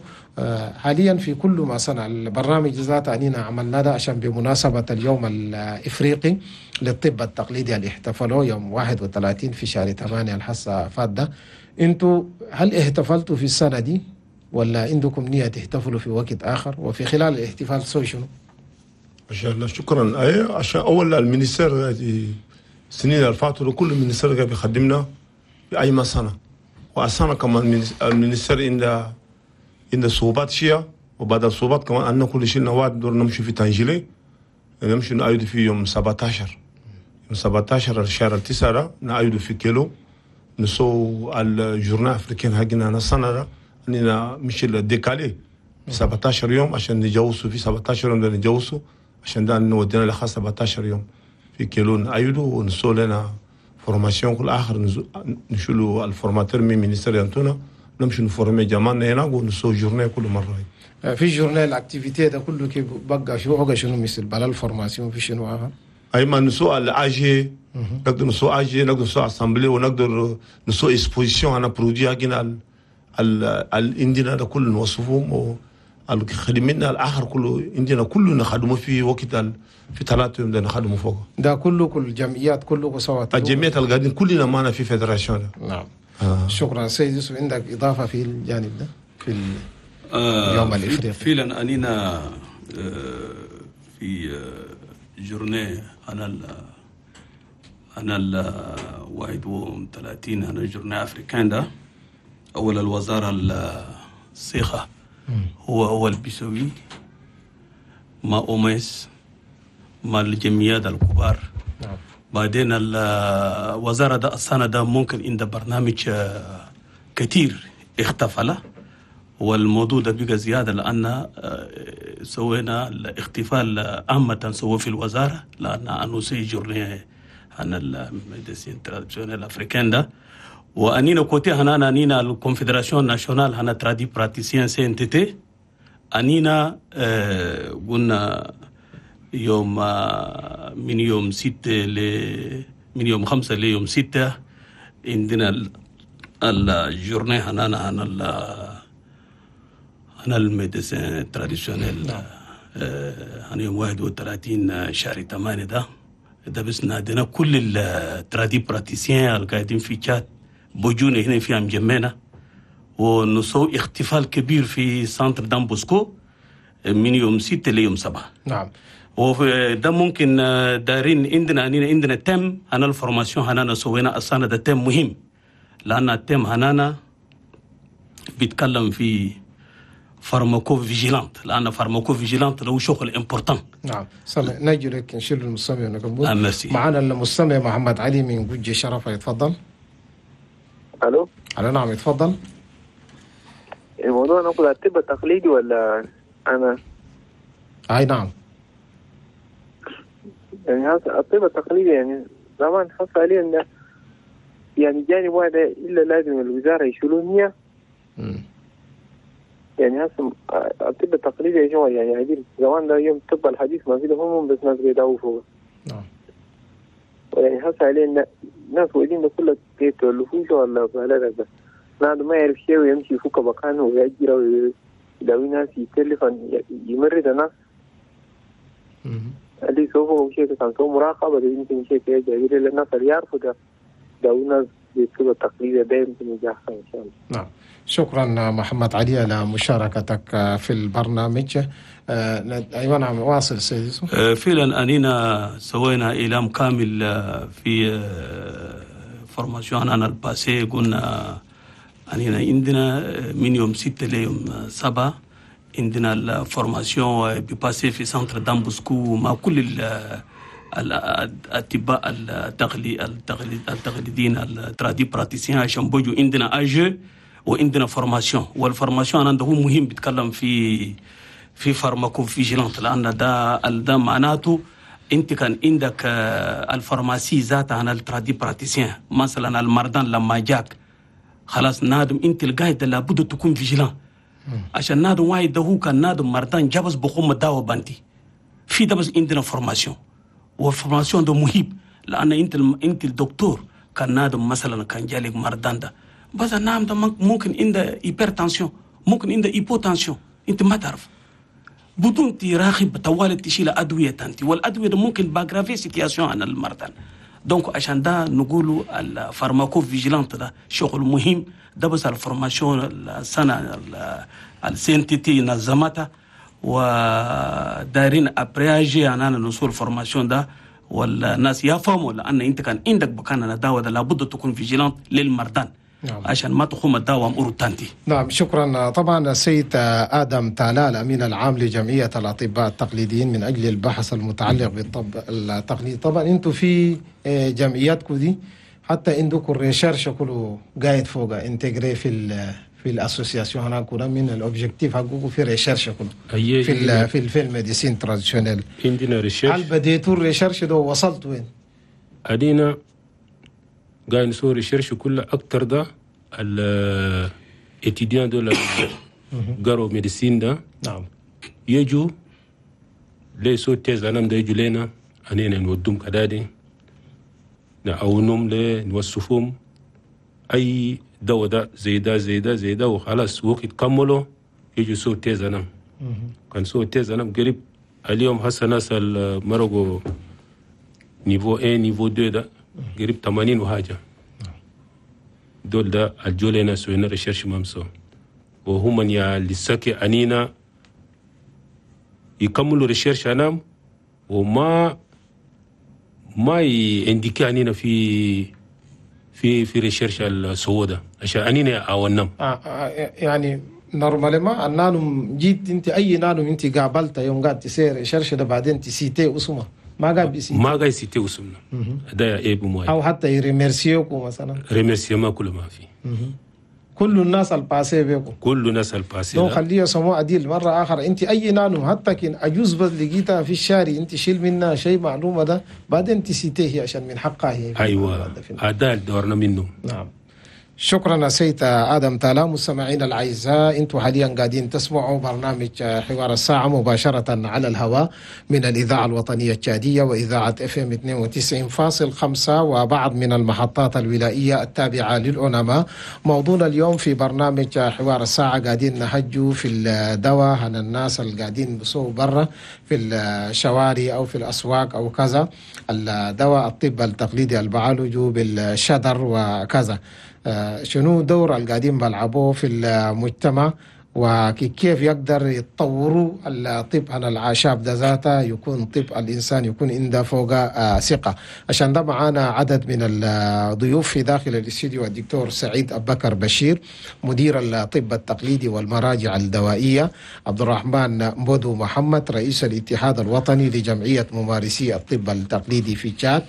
حاليا في كل ما صنع البرنامج ذات أننا عملنا ده عشان بمناسبة اليوم الإفريقي للطب التقليدي اللي احتفلوا يوم 31 في شهر 8 الحصة فات ده، انتوا هل احتفلتوا في السنة دي ولا عندكم نية تحتفلوا في وقت آخر؟ وفي خلال الاحتفال سوي شنو؟ ما شاء الله، شكرا. أي عشان أول ال ministère السنين اللي فاتوا كل ال ministère قاعد بيخدمنا في أي سنة، وأصلا كمان ال ministère عند صعوبات شيء، وبعد الصعوبات كمان عندنا كل شيء نواد دور نمشي في تنجيلي، نمشي نعيد في يوم 17، يوم 17 الشهر 9 نعيد في كيلو نسو ال journée africaine حقنا السنة أننا مش décalé 17 يوم عشان نجوزوا في 17 يوم ده نجوزوا عشان ده نودينا لخاص 17 يوم في كيلو نعيدوا ونسو لنا formation كل اخر نشيلوا ال formateur من ministère ينتونا نمشي نفورمي جمالنا هناك ونسو journée كل مره. في journée ال activité ده كله كيف بقى شو بقى شنو مثل بلا ال formation في شنو اخر؟ اي ما نسو ال AG، نقدر نسو AG، نقدر نسو assemblée، ونقدر نسو exposition انا produit حقنا ال عندنا ده كله نوصفهم خدمنا الاخر كله عندنا كله نخدمه في وقت في 3 يوم ده نخدمه فوق ده كله، كل الجمعيات كله سوا الجمعيات القاعدين كلنا معنا في fédération. نعم. شكرا. سيد يوسف عندك اضافه في الجانب ده في اليوم الافريقي؟ فعلا اننا في journée انا ال 31 انا journée africaine ده اول الوزاره الصيخه هو اللي بيسوي مع OMS مع الجمعيات الكبار. نعم. بعدين الوزارة ده السنة ده ممكن عند برنامج كتير اختفل، والموضوع ده بقى زيادة لأن سوينا الاحتفال عامة سوى في الوزارة لأن annoncé journée عن ال médecine traditionnelle africaine ده، وأنينا côté هنا أنينا ال confédération nationale هنا tradipraticiens CNTT أنينا قلنا يوم من يوم 6 من يوم 5 ليوم 6 عندنا ال journée هنا هنا ال médecine traditionnelle هنا يوم 31 شهر 8 ده بس نادينا كل ال tradipraticiens القاعدين في تشاد بوجونا هنا في انجمينا ونسوي احتفال كبير في centre Don Bosco من يوم 6 ليوم 7. نعم. وده ممكن دارين عندنا thème هنا ال formation هنا سوينا السنة ده thème مهم لأن ال thème هنا بيتكلم في pharmacovigilance لأن pharmacovigilance له شغل important. نعم. نجي لك نشيل المستمع ونكمل. معنا المستمع محمد علي من جوجي شرفة، يتفضل. الو. الو نعم يتفضل. الموضوع نقول الطب التقليدي ولا انا؟ اي نعم. يعني هذا الطب التقليدي يعني زمان حصل عليه انه يعني جانب واحد الا لازم الوزاره يشيلون هي. يعني هسه الطب التقليدي يا جماعة يعني عديل زمان ده يوم الطب الحديث ما في هم بس ناس بيداووا فوق. نعم. يعني هسه عليه ناس وايدين ده كله يتولفوش ولا بلا بس نادو ما يعرف شيء ويمشي يفك مكانه ويأجر ويداوي ناس يتلفن يمرد الناس. اللي سوفه شيء كان سو مراقبة يمكن شيء يجي للناس اللي يعرفوا ده داوي ناس بالطب التقليدي ده يمكن يجي إن شاء الله. نعم. شكرا محمد علي على مشاركتك في البرنامج. أيوة نعم واصل سيد يوسف. فعلا أننا سوينا إعلام كامل في formation أنا ال passé قلنا أننا عندنا من يوم 6 ليوم 7 عندنا ال formation ب passer في centre دامبوسكو مع كل الأطباء التقليديين ال tradipraticiens عشان بوجو عندنا AG وعندنا formation. وال formation أنا هو مهم بيتكلم في pharmacovigilance لأن ده معناته أنت كان عندك ال pharmacie ذاتها عن ال tradipraticien مثلا المرضان لما جاك خلاص نادم أنت القايد لابد تكون vigilant عشان نادم واحد ده هو كان نادم مرضان جابس بقوم الدواء بانتي في ده بس عندنا formation. وال formation ده مهم لأن أنت الدكتور كان نادم مثلا كان جالك مرضان ده بس النعم ده ممكن عنده hypertension ممكن عنده hypotension انت ما تعرف بدون تراقب طوال تشيل ادوية تانتي والادوية ده ممكن ب aggraver situation عن المرضى. donc عشان ده نقولوا ال pharmacovigilance ده شغل مهم ده بس ال formation السنة ال CNTT نظمتها ودايرين après AG انا نوصل formation ده والناس يفهموا لان انت كان عندك بكان دواء ده لابد تكون vigilant للمرضى. نعم. عشان ما تخوم الدواء أمور تانتي. نعم شكرا. طبعا السيد آدم تالا الأمين العام لجمعية الأطباء التقليديين من أجل البحث المتعلق بالطب التقليدي، طبعا أنتم في جمعياتكم دي حتى عندكم ال recherche كله قاعد فوق intégré في ال association هناك من ال objectif حقكم في recherche كله في ال médecine traditionnelle عندنا recherche. هل بديتوا ال recherche ده وصلت وين؟ أدينا قاعد نسوي recherche كله أكتر ده ال étudiants دول قروا médecine ده. نعم. يجوا لي سو thèse أنا ده يجوا لنا أنينا نودهم كدادي نعاونهم لي نوصفهم أي دواء ده زي ده زي ده زي ده وخلاص وقت كملوا يجوا سو thèse أنا كان سو thèse أنا قريب اليوم هسه ناس مرقوا niveau 1 niveau 2 ده قريب 80 وحاجة دول ده الجولينا سوينا recherche مامسو وهم يا لساكي أنينا يكملوا recherche أنام وما ما ي indiquer أنينا في في في recherche السوداء عشان أنينا أو النم. يعني normalement النانم جيت أنت أي نانم أنت قابلته يوم قاعد تسير recherche ده بعدين ت citer اسمه ما قاعد بي citer ما قاعد ي citer اسمنا ده عيب موي او حتى ي remercier كم مثلا remerciement كله ما في. كل الناس ال passé بيكم كل الناس ال passé donc خليه يسموه عديل مرة اخر انت اي نانو حتى كان اجوز بس لقيتها في الشارع انت شيل منها شيء معلومة ده بعدين ت citer هي عشان من حقها هي. ايوه هذا دورنا منه. نعم شكرا سيد آدم تالا. مستمعينا الأعزاء، أنتم حاليا قاعدين تسمعوا برنامج حوار الساعة مباشرة على الهواء من الإذاعة الوطنية التشادية وإذاعة FM 92.5 وبعض من المحطات الولائية التابعة للأوناما. موضوعنا اليوم في برنامج حوار الساعة قاعدين نهجوا في الدواء عن الناس اللي قاعدين بسووا برا في الشوارع أو في الأسواق أو كذا، الدواء الطب التقليدي البعالجوا بالشدر وكذا، شنو دور القاعدين بلعبوه في المجتمع وكيف يقدر يتطوروا الطب عن الأعشاب ده ذاته، يكون طب الإنسان يكون عنده فوق ثقة. عشان ده معانا عدد من الضيوف في داخل الاستديو: الدكتور سعيد أبو بكر بشير مدير الطب التقليدي والمراجع الدوائية، عبد الرحمن مبودو محمد رئيس الاتحاد الوطني لجمعية ممارسي الطب التقليدي في تشاد،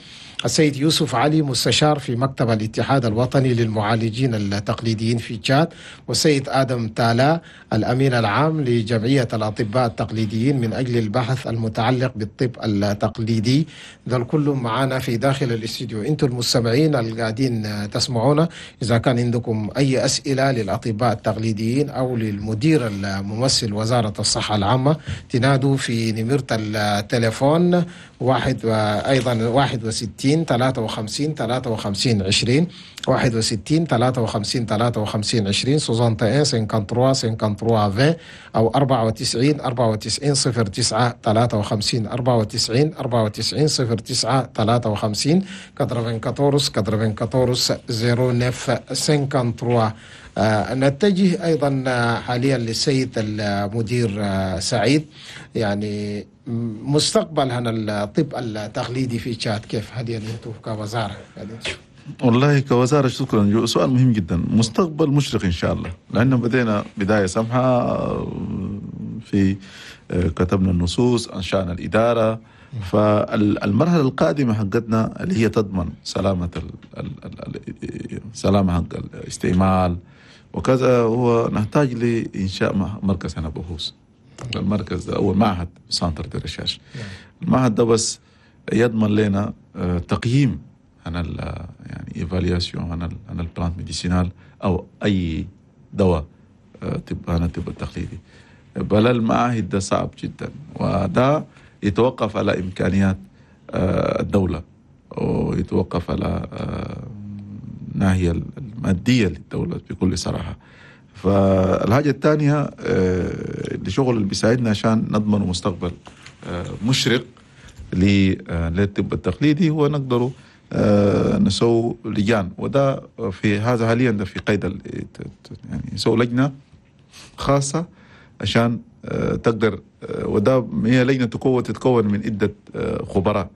السيد يوسف علي مستشار في مكتب الاتحاد الوطني للمعالجين التقليديين في تشاد، والسيد آدم تالا الأمين العام لجمعية الأطباء التقليديين من أجل البحث المتعلق بالطب التقليدي. ذا الكل معنا في داخل الاستديو. أنتم المستمعين القاعدين تسمعونا، إذا كان عندكم أي أسئلة للأطباء التقليديين أو للمدير الممثل وزارة الصحة العامة تنادوا في نمرة التليفون 1 وأيضا 61 53 53 20 61 53 53 20 61 53 53 20 أو 94 94 09 53 94 94 09 53 94 94 09 53. نتجه أيضا حاليا للسيد المدير سعيد، يعني مستقبل هنا الطب التقليدي في تشاد كيف حاليا أنتم كوزارة؟ والله كوزارة شكرا، سؤال مهم جدا. مستقبل مشرق إن شاء الله، لأنه بدينا بداية سمحة في كتبنا النصوص، أنشأنا الإدارة، فالمرحلة القادمة حقتنا اللي هي تضمن سلامة سلامة حق الاستعمال وكذا، هو نحتاج لإنشاء مركز هنا بحوث. المركز ده أول معهد centre de recherche. المعهد ده بس يضمن لنا تقييم عن يعني évaluation عن ال plante médicinale أو أي دواء طب عن الطب التقليدي. بل المعاهد ده صعب جدا، وده يتوقف على إمكانيات الدولة، ويتوقف على الناحية المادية للدولة بكل صراحة. فالحاجة الثانية الشغل اللي بيساعدنا عشان نضمن مستقبل مشرق للطب التقليدي هو نقدر نسوي لجان، وده في هذا حاليا ده في قيد يعني نسوي لجنة خاصة عشان تقدر، وده هي لجنة تتكون من عدة خبراء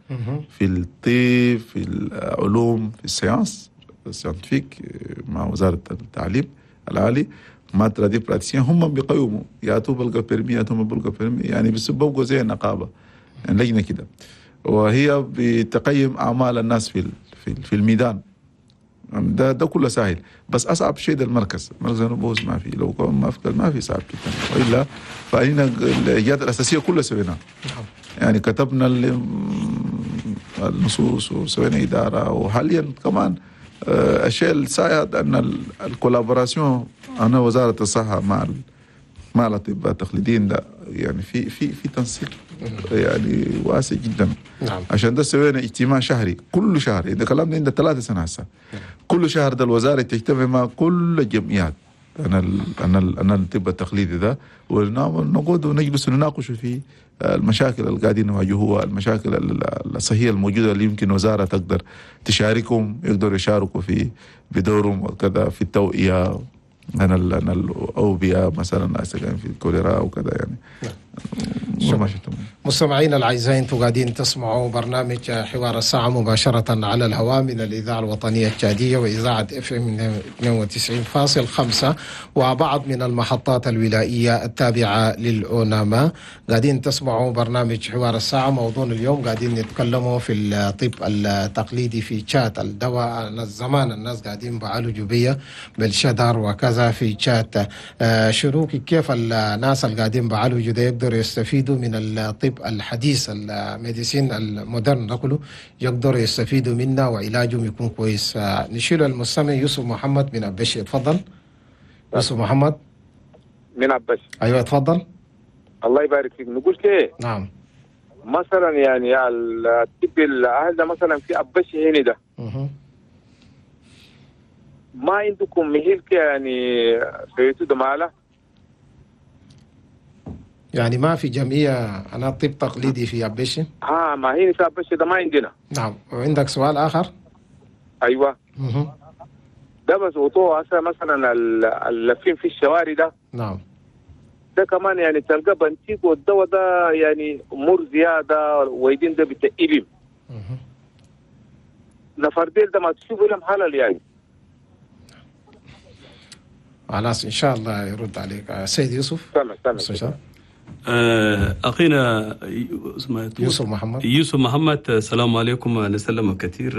في الطب، في العلوم، في ال sciences scientifiques مع وزارة التعليم العالي، مع tradipraticiens، هم بيقيموا ياتوا بلقى permis ياتوا ما بلقى permis، يعني بيبقوا زي النقابة، يعني لجنة كده، وهي بتقيم أعمال الناس في الميدان. ده كله سهل، بس اصعب شيء ده المركز البحوث ما في، لو كان ما في صعب جدا، والا فإن الايجاد الاساسية كلها سويناها. يعني كتبنا النصوص وسوينا ادارة، وحاليا كمان الشيء السائد ان ال collaboration انا وزارة الصحة مع الاطباء التقليديين ده، يعني في في في تنسيق يعني واسع جدا. نعم. عشان ده سوينا اجتماع شهري كل شهر، ده كلامنا عند 3 سنة هسه. نعم. كل شهر ده الوزارة تجتمع مع كل الجمعيات انا الطب التقليدي ده، ونقعد ونجلس ونناقش في المشاكل اللي قاعدين يواجهوها، المشاكل الصحية الموجودة اللي يمكن وزارة تقدر تشاركهم، يقدروا يشاركوا في بدورهم وكذا في التوعية انا الاوبئة مثلا في الكوليرا وكذا يعني. نعم. مستمعينا الاعزاء، انتم قاعدين تسمعوا برنامج حوار الساعة مباشرة على الهواء من الاذاعة الوطنية التشاديه واذاعة FM 92.5 وبعض من المحطات الولائيه التابعة للاوناما. قاعدين تسمعوا برنامج حوار الساعة. موضوعنا اليوم قاعدين نتكلموا في الطب التقليدي في تشاد، الدواء الزمان الناس قاعدين بعالجوا بيه بالشدر وكذا في تشاد. شنو كيف الناس اللي قاعدين بعالجوا ده يقدروا يستفيدوا من الطب الحديث، ال médecine ال moderne ده كله يقدروا يستفيدوا منه وعلاجهم يكون كويس. نشيل المستمع يوسف محمد من أبشي. اتفضل يوسف محمد من أبشي. ايوه اتفضل. الله يبارك فيك. نقول كيه؟ نعم. مثلا يعني الطب الاهل ده مثلا في أبشي هنا ده ما عندكم مهلك يعني سويتوا ده ماله؟ يعني ما في جمعية أنا طب تقليدي في أبشي؟ ما هي في أبشي ده ما عندنا. نعم. وعندك سؤال آخر؟ أيوة. ده بس وطوه هسه مثلا اللفين في الشوارع ده. نعم. ده كمان يعني تلقى بنتيك والدواء ده يعني أمور زيادة ويدين ده بتقلم. نفرديل ده ما تشوفوا لهم حلال يعني. خلاص إن شاء الله يرد عليك سيد يوسف. تمام. أخينا يوسف محمد. يوسف محمد، السلام عليكم. نسلم كثير.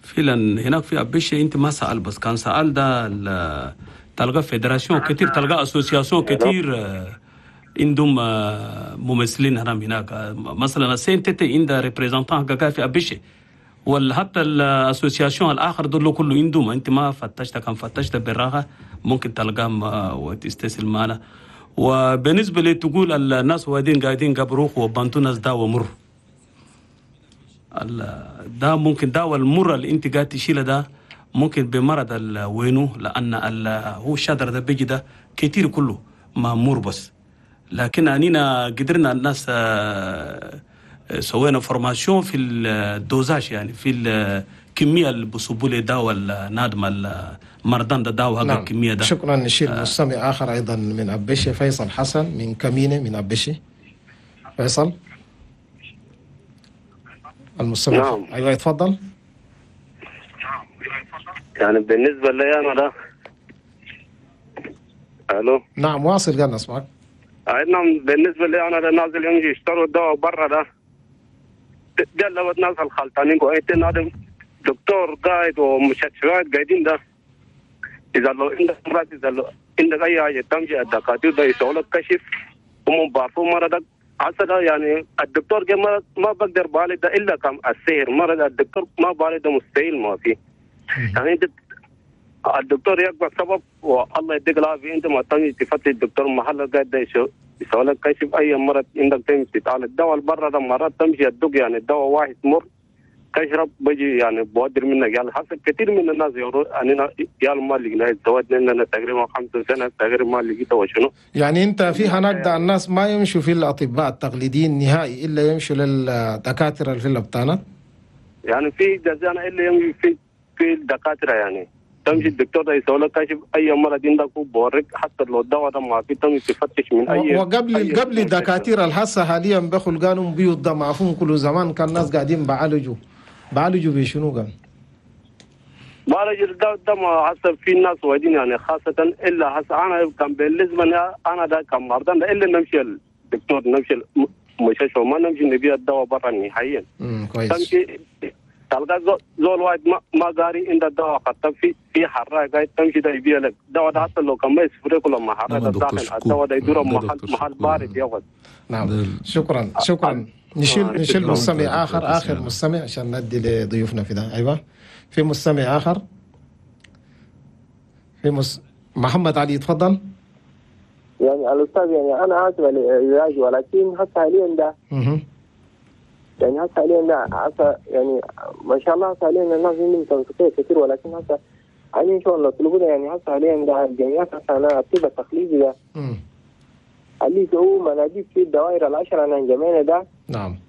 فعلا هناك في أبشي أنت ما سأل، بس كان سأل ده تلقى fédération كثير، تلقى association كثير عندهم ممثلين هناك. مثلا ال CNTT عندها représentant في أبشي، ولا حتى ال association الاخر دول كله عندهم. انت ما فتشت، كان فتشت بالراحة ممكن تلقاهم وتستسلم معنا. وبالنسبة لي تقول الناس وادين قاعدين قبروخ وبانتو ناس داوى مر، ده ممكن داوى المر اللي انت قاعد تشيله ده ممكن بمرض وينو، لان هو الشجر ده بيجي ده كتير كله ما مر بس. لكن اننا قدرنا الناس سوينا formation في ال dosage، يعني في الكمية اللي بصبوا لي دواء النادم المرضان ده دواء. نعم. الكمية ده. شكرا. نشيل مستمع اخر ايضا من ابشي، فيصل حسن من كمينة من ابشي. فيصل المستمع. نعم. ايوه يتفضل. يعني بالنسبة لي انا ده. الو. نعم واصل، قال نسمعك. نعم بالنسبة لي انا ده نازل يمشي يشتروا الدواء برا ده، ده لو الناس الخلطانين قاعدين هذا دكتور قاعد ومستشفيات قاعدين ده، اذا لو عندك مرض، اذا لو عندك اي حاجة تمشي الدكاترة ده يسووا لك كشف وهم بعرفوا مرضك عسى. يعني الدكتور ما بقدر بالي ده الا كم السير مرض الدكتور ما بالي ده مستحيل ما في. يعني انت الدكتور يقبل سبب والله يديك العافية، انت ما تمشي تفتش الدكتور محل قاعد ده يسوي لك كشف اي مرض عندك تمشي تتعالج. الدواء برا ده مرات تمشي الدق، يعني الدواء واحد مر تشرب بيجي يعني بودر منك. يعني حصل كثير من الناس يعني يا ما لقينا الزواج لنا تقريبا 5 سنة تقريبا ما لقيته وشنو. يعني انت في هناك ده الناس ما يمشوا في الاطباء التقليديين نهائي، الا يمشوا للدكاتره اللي في الابطانات. يعني في جزانا الا يمشي في الدكاترة، يعني تمشي الدكتور ده يسوي لك كشف اي مرض عندك وبوريك، حتى لو الدواء ده ما في تمشي تفتش من اي. وقبل أي قبل الدكاترة الحاسة حاليا بخل قالوا بيوت ده معفون كل زمان كان الناس قاعدين بعالجوا بشنو قال؟ بعالجوا ده ما حسب في الناس واجدين، يعني خاصة الا حس انا كان بالنسبة لي انا ده كان مرضان الا نمشي الدكتور، نمشي المستشفى، ما نمشي نبيع الدواء برا نهائيا. كويس. تمشي تلقى زول واحد ما قاري عند الدواء خطب في حراق قاعد تمشي ده يبيع لك دواء ده، حتى لو كان ما يسفرك ولا ما حراق داخل الدواء ده يدور محل بارد ياخذ. نعم شكرا شكرا. نشيل مستمع اخر مستمع عشان ندي لضيوفنا في ده. ايوه في مستمع اخر، في محمد علي تفضل. يعني الاستاذ يعني انا اسف على ولكن حتى حاليا ده يعني هسه حاليا هسه يعني ما شاء الله هسه حاليا الناس عندهم تنسيقية كثير، ولكن هسه حاليا ان شاء الله طلبونا. يعني هسه حاليا ده الجمعيات هسه انا الطب التقليدي ده اللي هو مناديب في الدوائر العشرة انا جمعنا ده. نعم.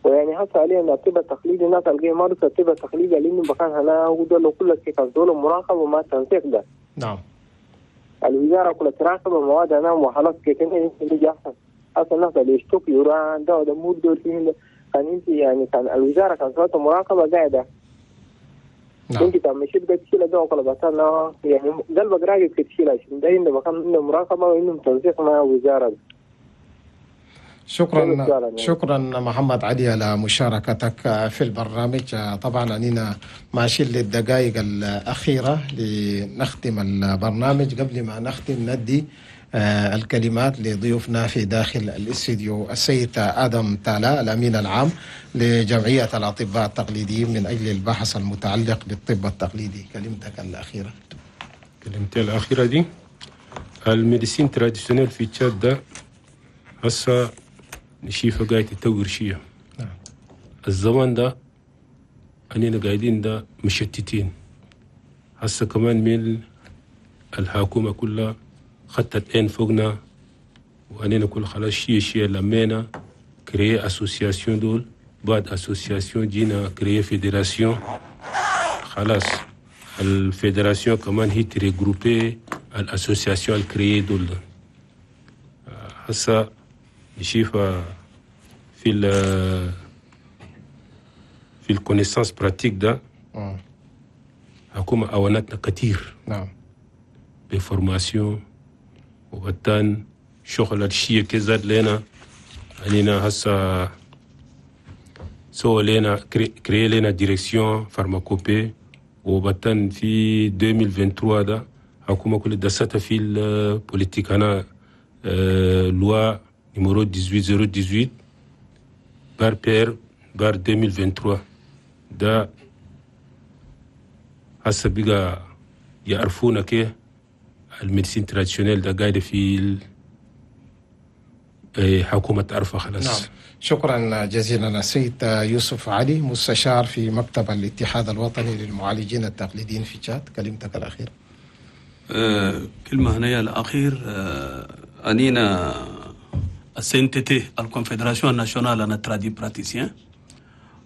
ويعني هسه حاليا الطب التقليدي الناس اللي يمارسوا الطب التقليدي لانه بكان هنا ودول كل شيء كان دول مراقبة وما تنسيق ده. نعم. الوزارة كلها تراقب مواد انا وخلاص كده اللي احسن اصلا الناس اللي يشتكوا يوران ده وده مو دول فيهم كان انت يعني كان الوزارة كان صوت مراقبة قاعدة. نعم. انت كان مشيت قاعد تشيل ده وكل بس انا يعني قلبك راجل تشيل عشان ده انه مكان انه مراقبة وانه تنسيق مع الوزارة. شكرا شكرا محمد علي على مشاركتك في البرنامج. طبعا اننا ماشيين للدقائق الاخيرة لنختم البرنامج. قبل ما نختم ندي الكلمات لضيوفنا في داخل الاستديو. السيد آدم تالا الأمين العام لجمعية الأطباء التقليديين من أجل البحث المتعلق بالطب التقليدي، كلمتك الأخيرة. كلمتي الأخيرة دي ال médecine traditionnelle في تشاد ده هسه نشيفة قاعد تطور شيء. نعم. الزمان ده أننا قاعدين ده مشتتين، هسه كمان من الحكومة كلها خطت عين فوقنا وأننا كل خلاص شيء لمينا créer association دول، بعد association جينا créer fédération، خلاص ال fédération كمان هي ت regrouper ال associations ال créées دول. هسه نشوف في ال connaissances pratiques ده حكومة أونتنا كتير. نعم. ب formation وبتان شغل الشيء كزاد لنا علينا هسا سو لنا créer لنا direction pharmacopée. وبتن في 2023 ده حكومة كل دستها في ال politique هنا loi numéro 18018 barre PR barre 2023 ده هسه بقى يعرفونا كي ال médecine traditionnelle ده قاعدة في حكومة تعرفها خلاص. نعم، شكرا جزيلا السيد يوسف علي، مستشار في مكتب الاتحاد الوطني للمعالجين التقليديين في تشاد، كلمتك الأخيرة. كلمة هنا الأخير، أنينا ال CNTT، ال confédération nationale هنا tradipraticiens،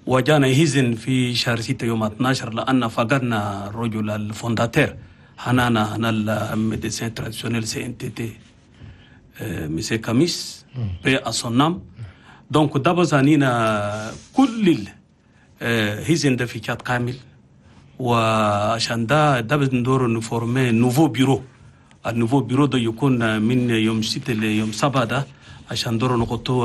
وجانا حزن في شهر 6 يوم 12 لأن فقدنا الرجل ال fondateur هنانا هنا ال médecine traditionnelle CNTT، monsieur Kamis، paix à son âme. donc دابا أنينا كل حزن ده في تشاد كامل، وعشان ده ندور ن former nouveau bureau. ال nouveau bureau ده يكون من يوم 6 ليوم 7 ده عشان دور نحطو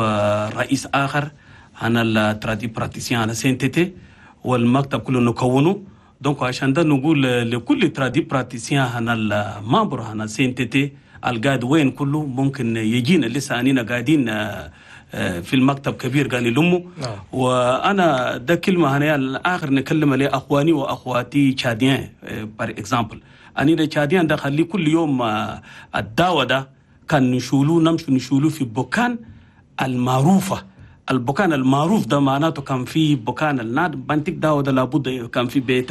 رئيس آخر هنا ال tradipraticiens هنا CNTT، والمكتب كله نكونه. donc عشان ده نقول لكل tradipraticien هنا ال membre هنا CNTT القاعد وين كله ممكن يجينا، لسه انينا قاعدين في المكتب كبير قال لأمه. وانا ده كلمة هنا الاخر نكلم لاخواني واخواتي tchadiens par exemple. انينا tchadiens ده خلي كل يوم الدواء ده كان نشولو، نمشي نشولو في بكان المعروفه. البكان المعروف ده معناته كان في بكان الناد بنتك دواء ده لابد كان في بيت.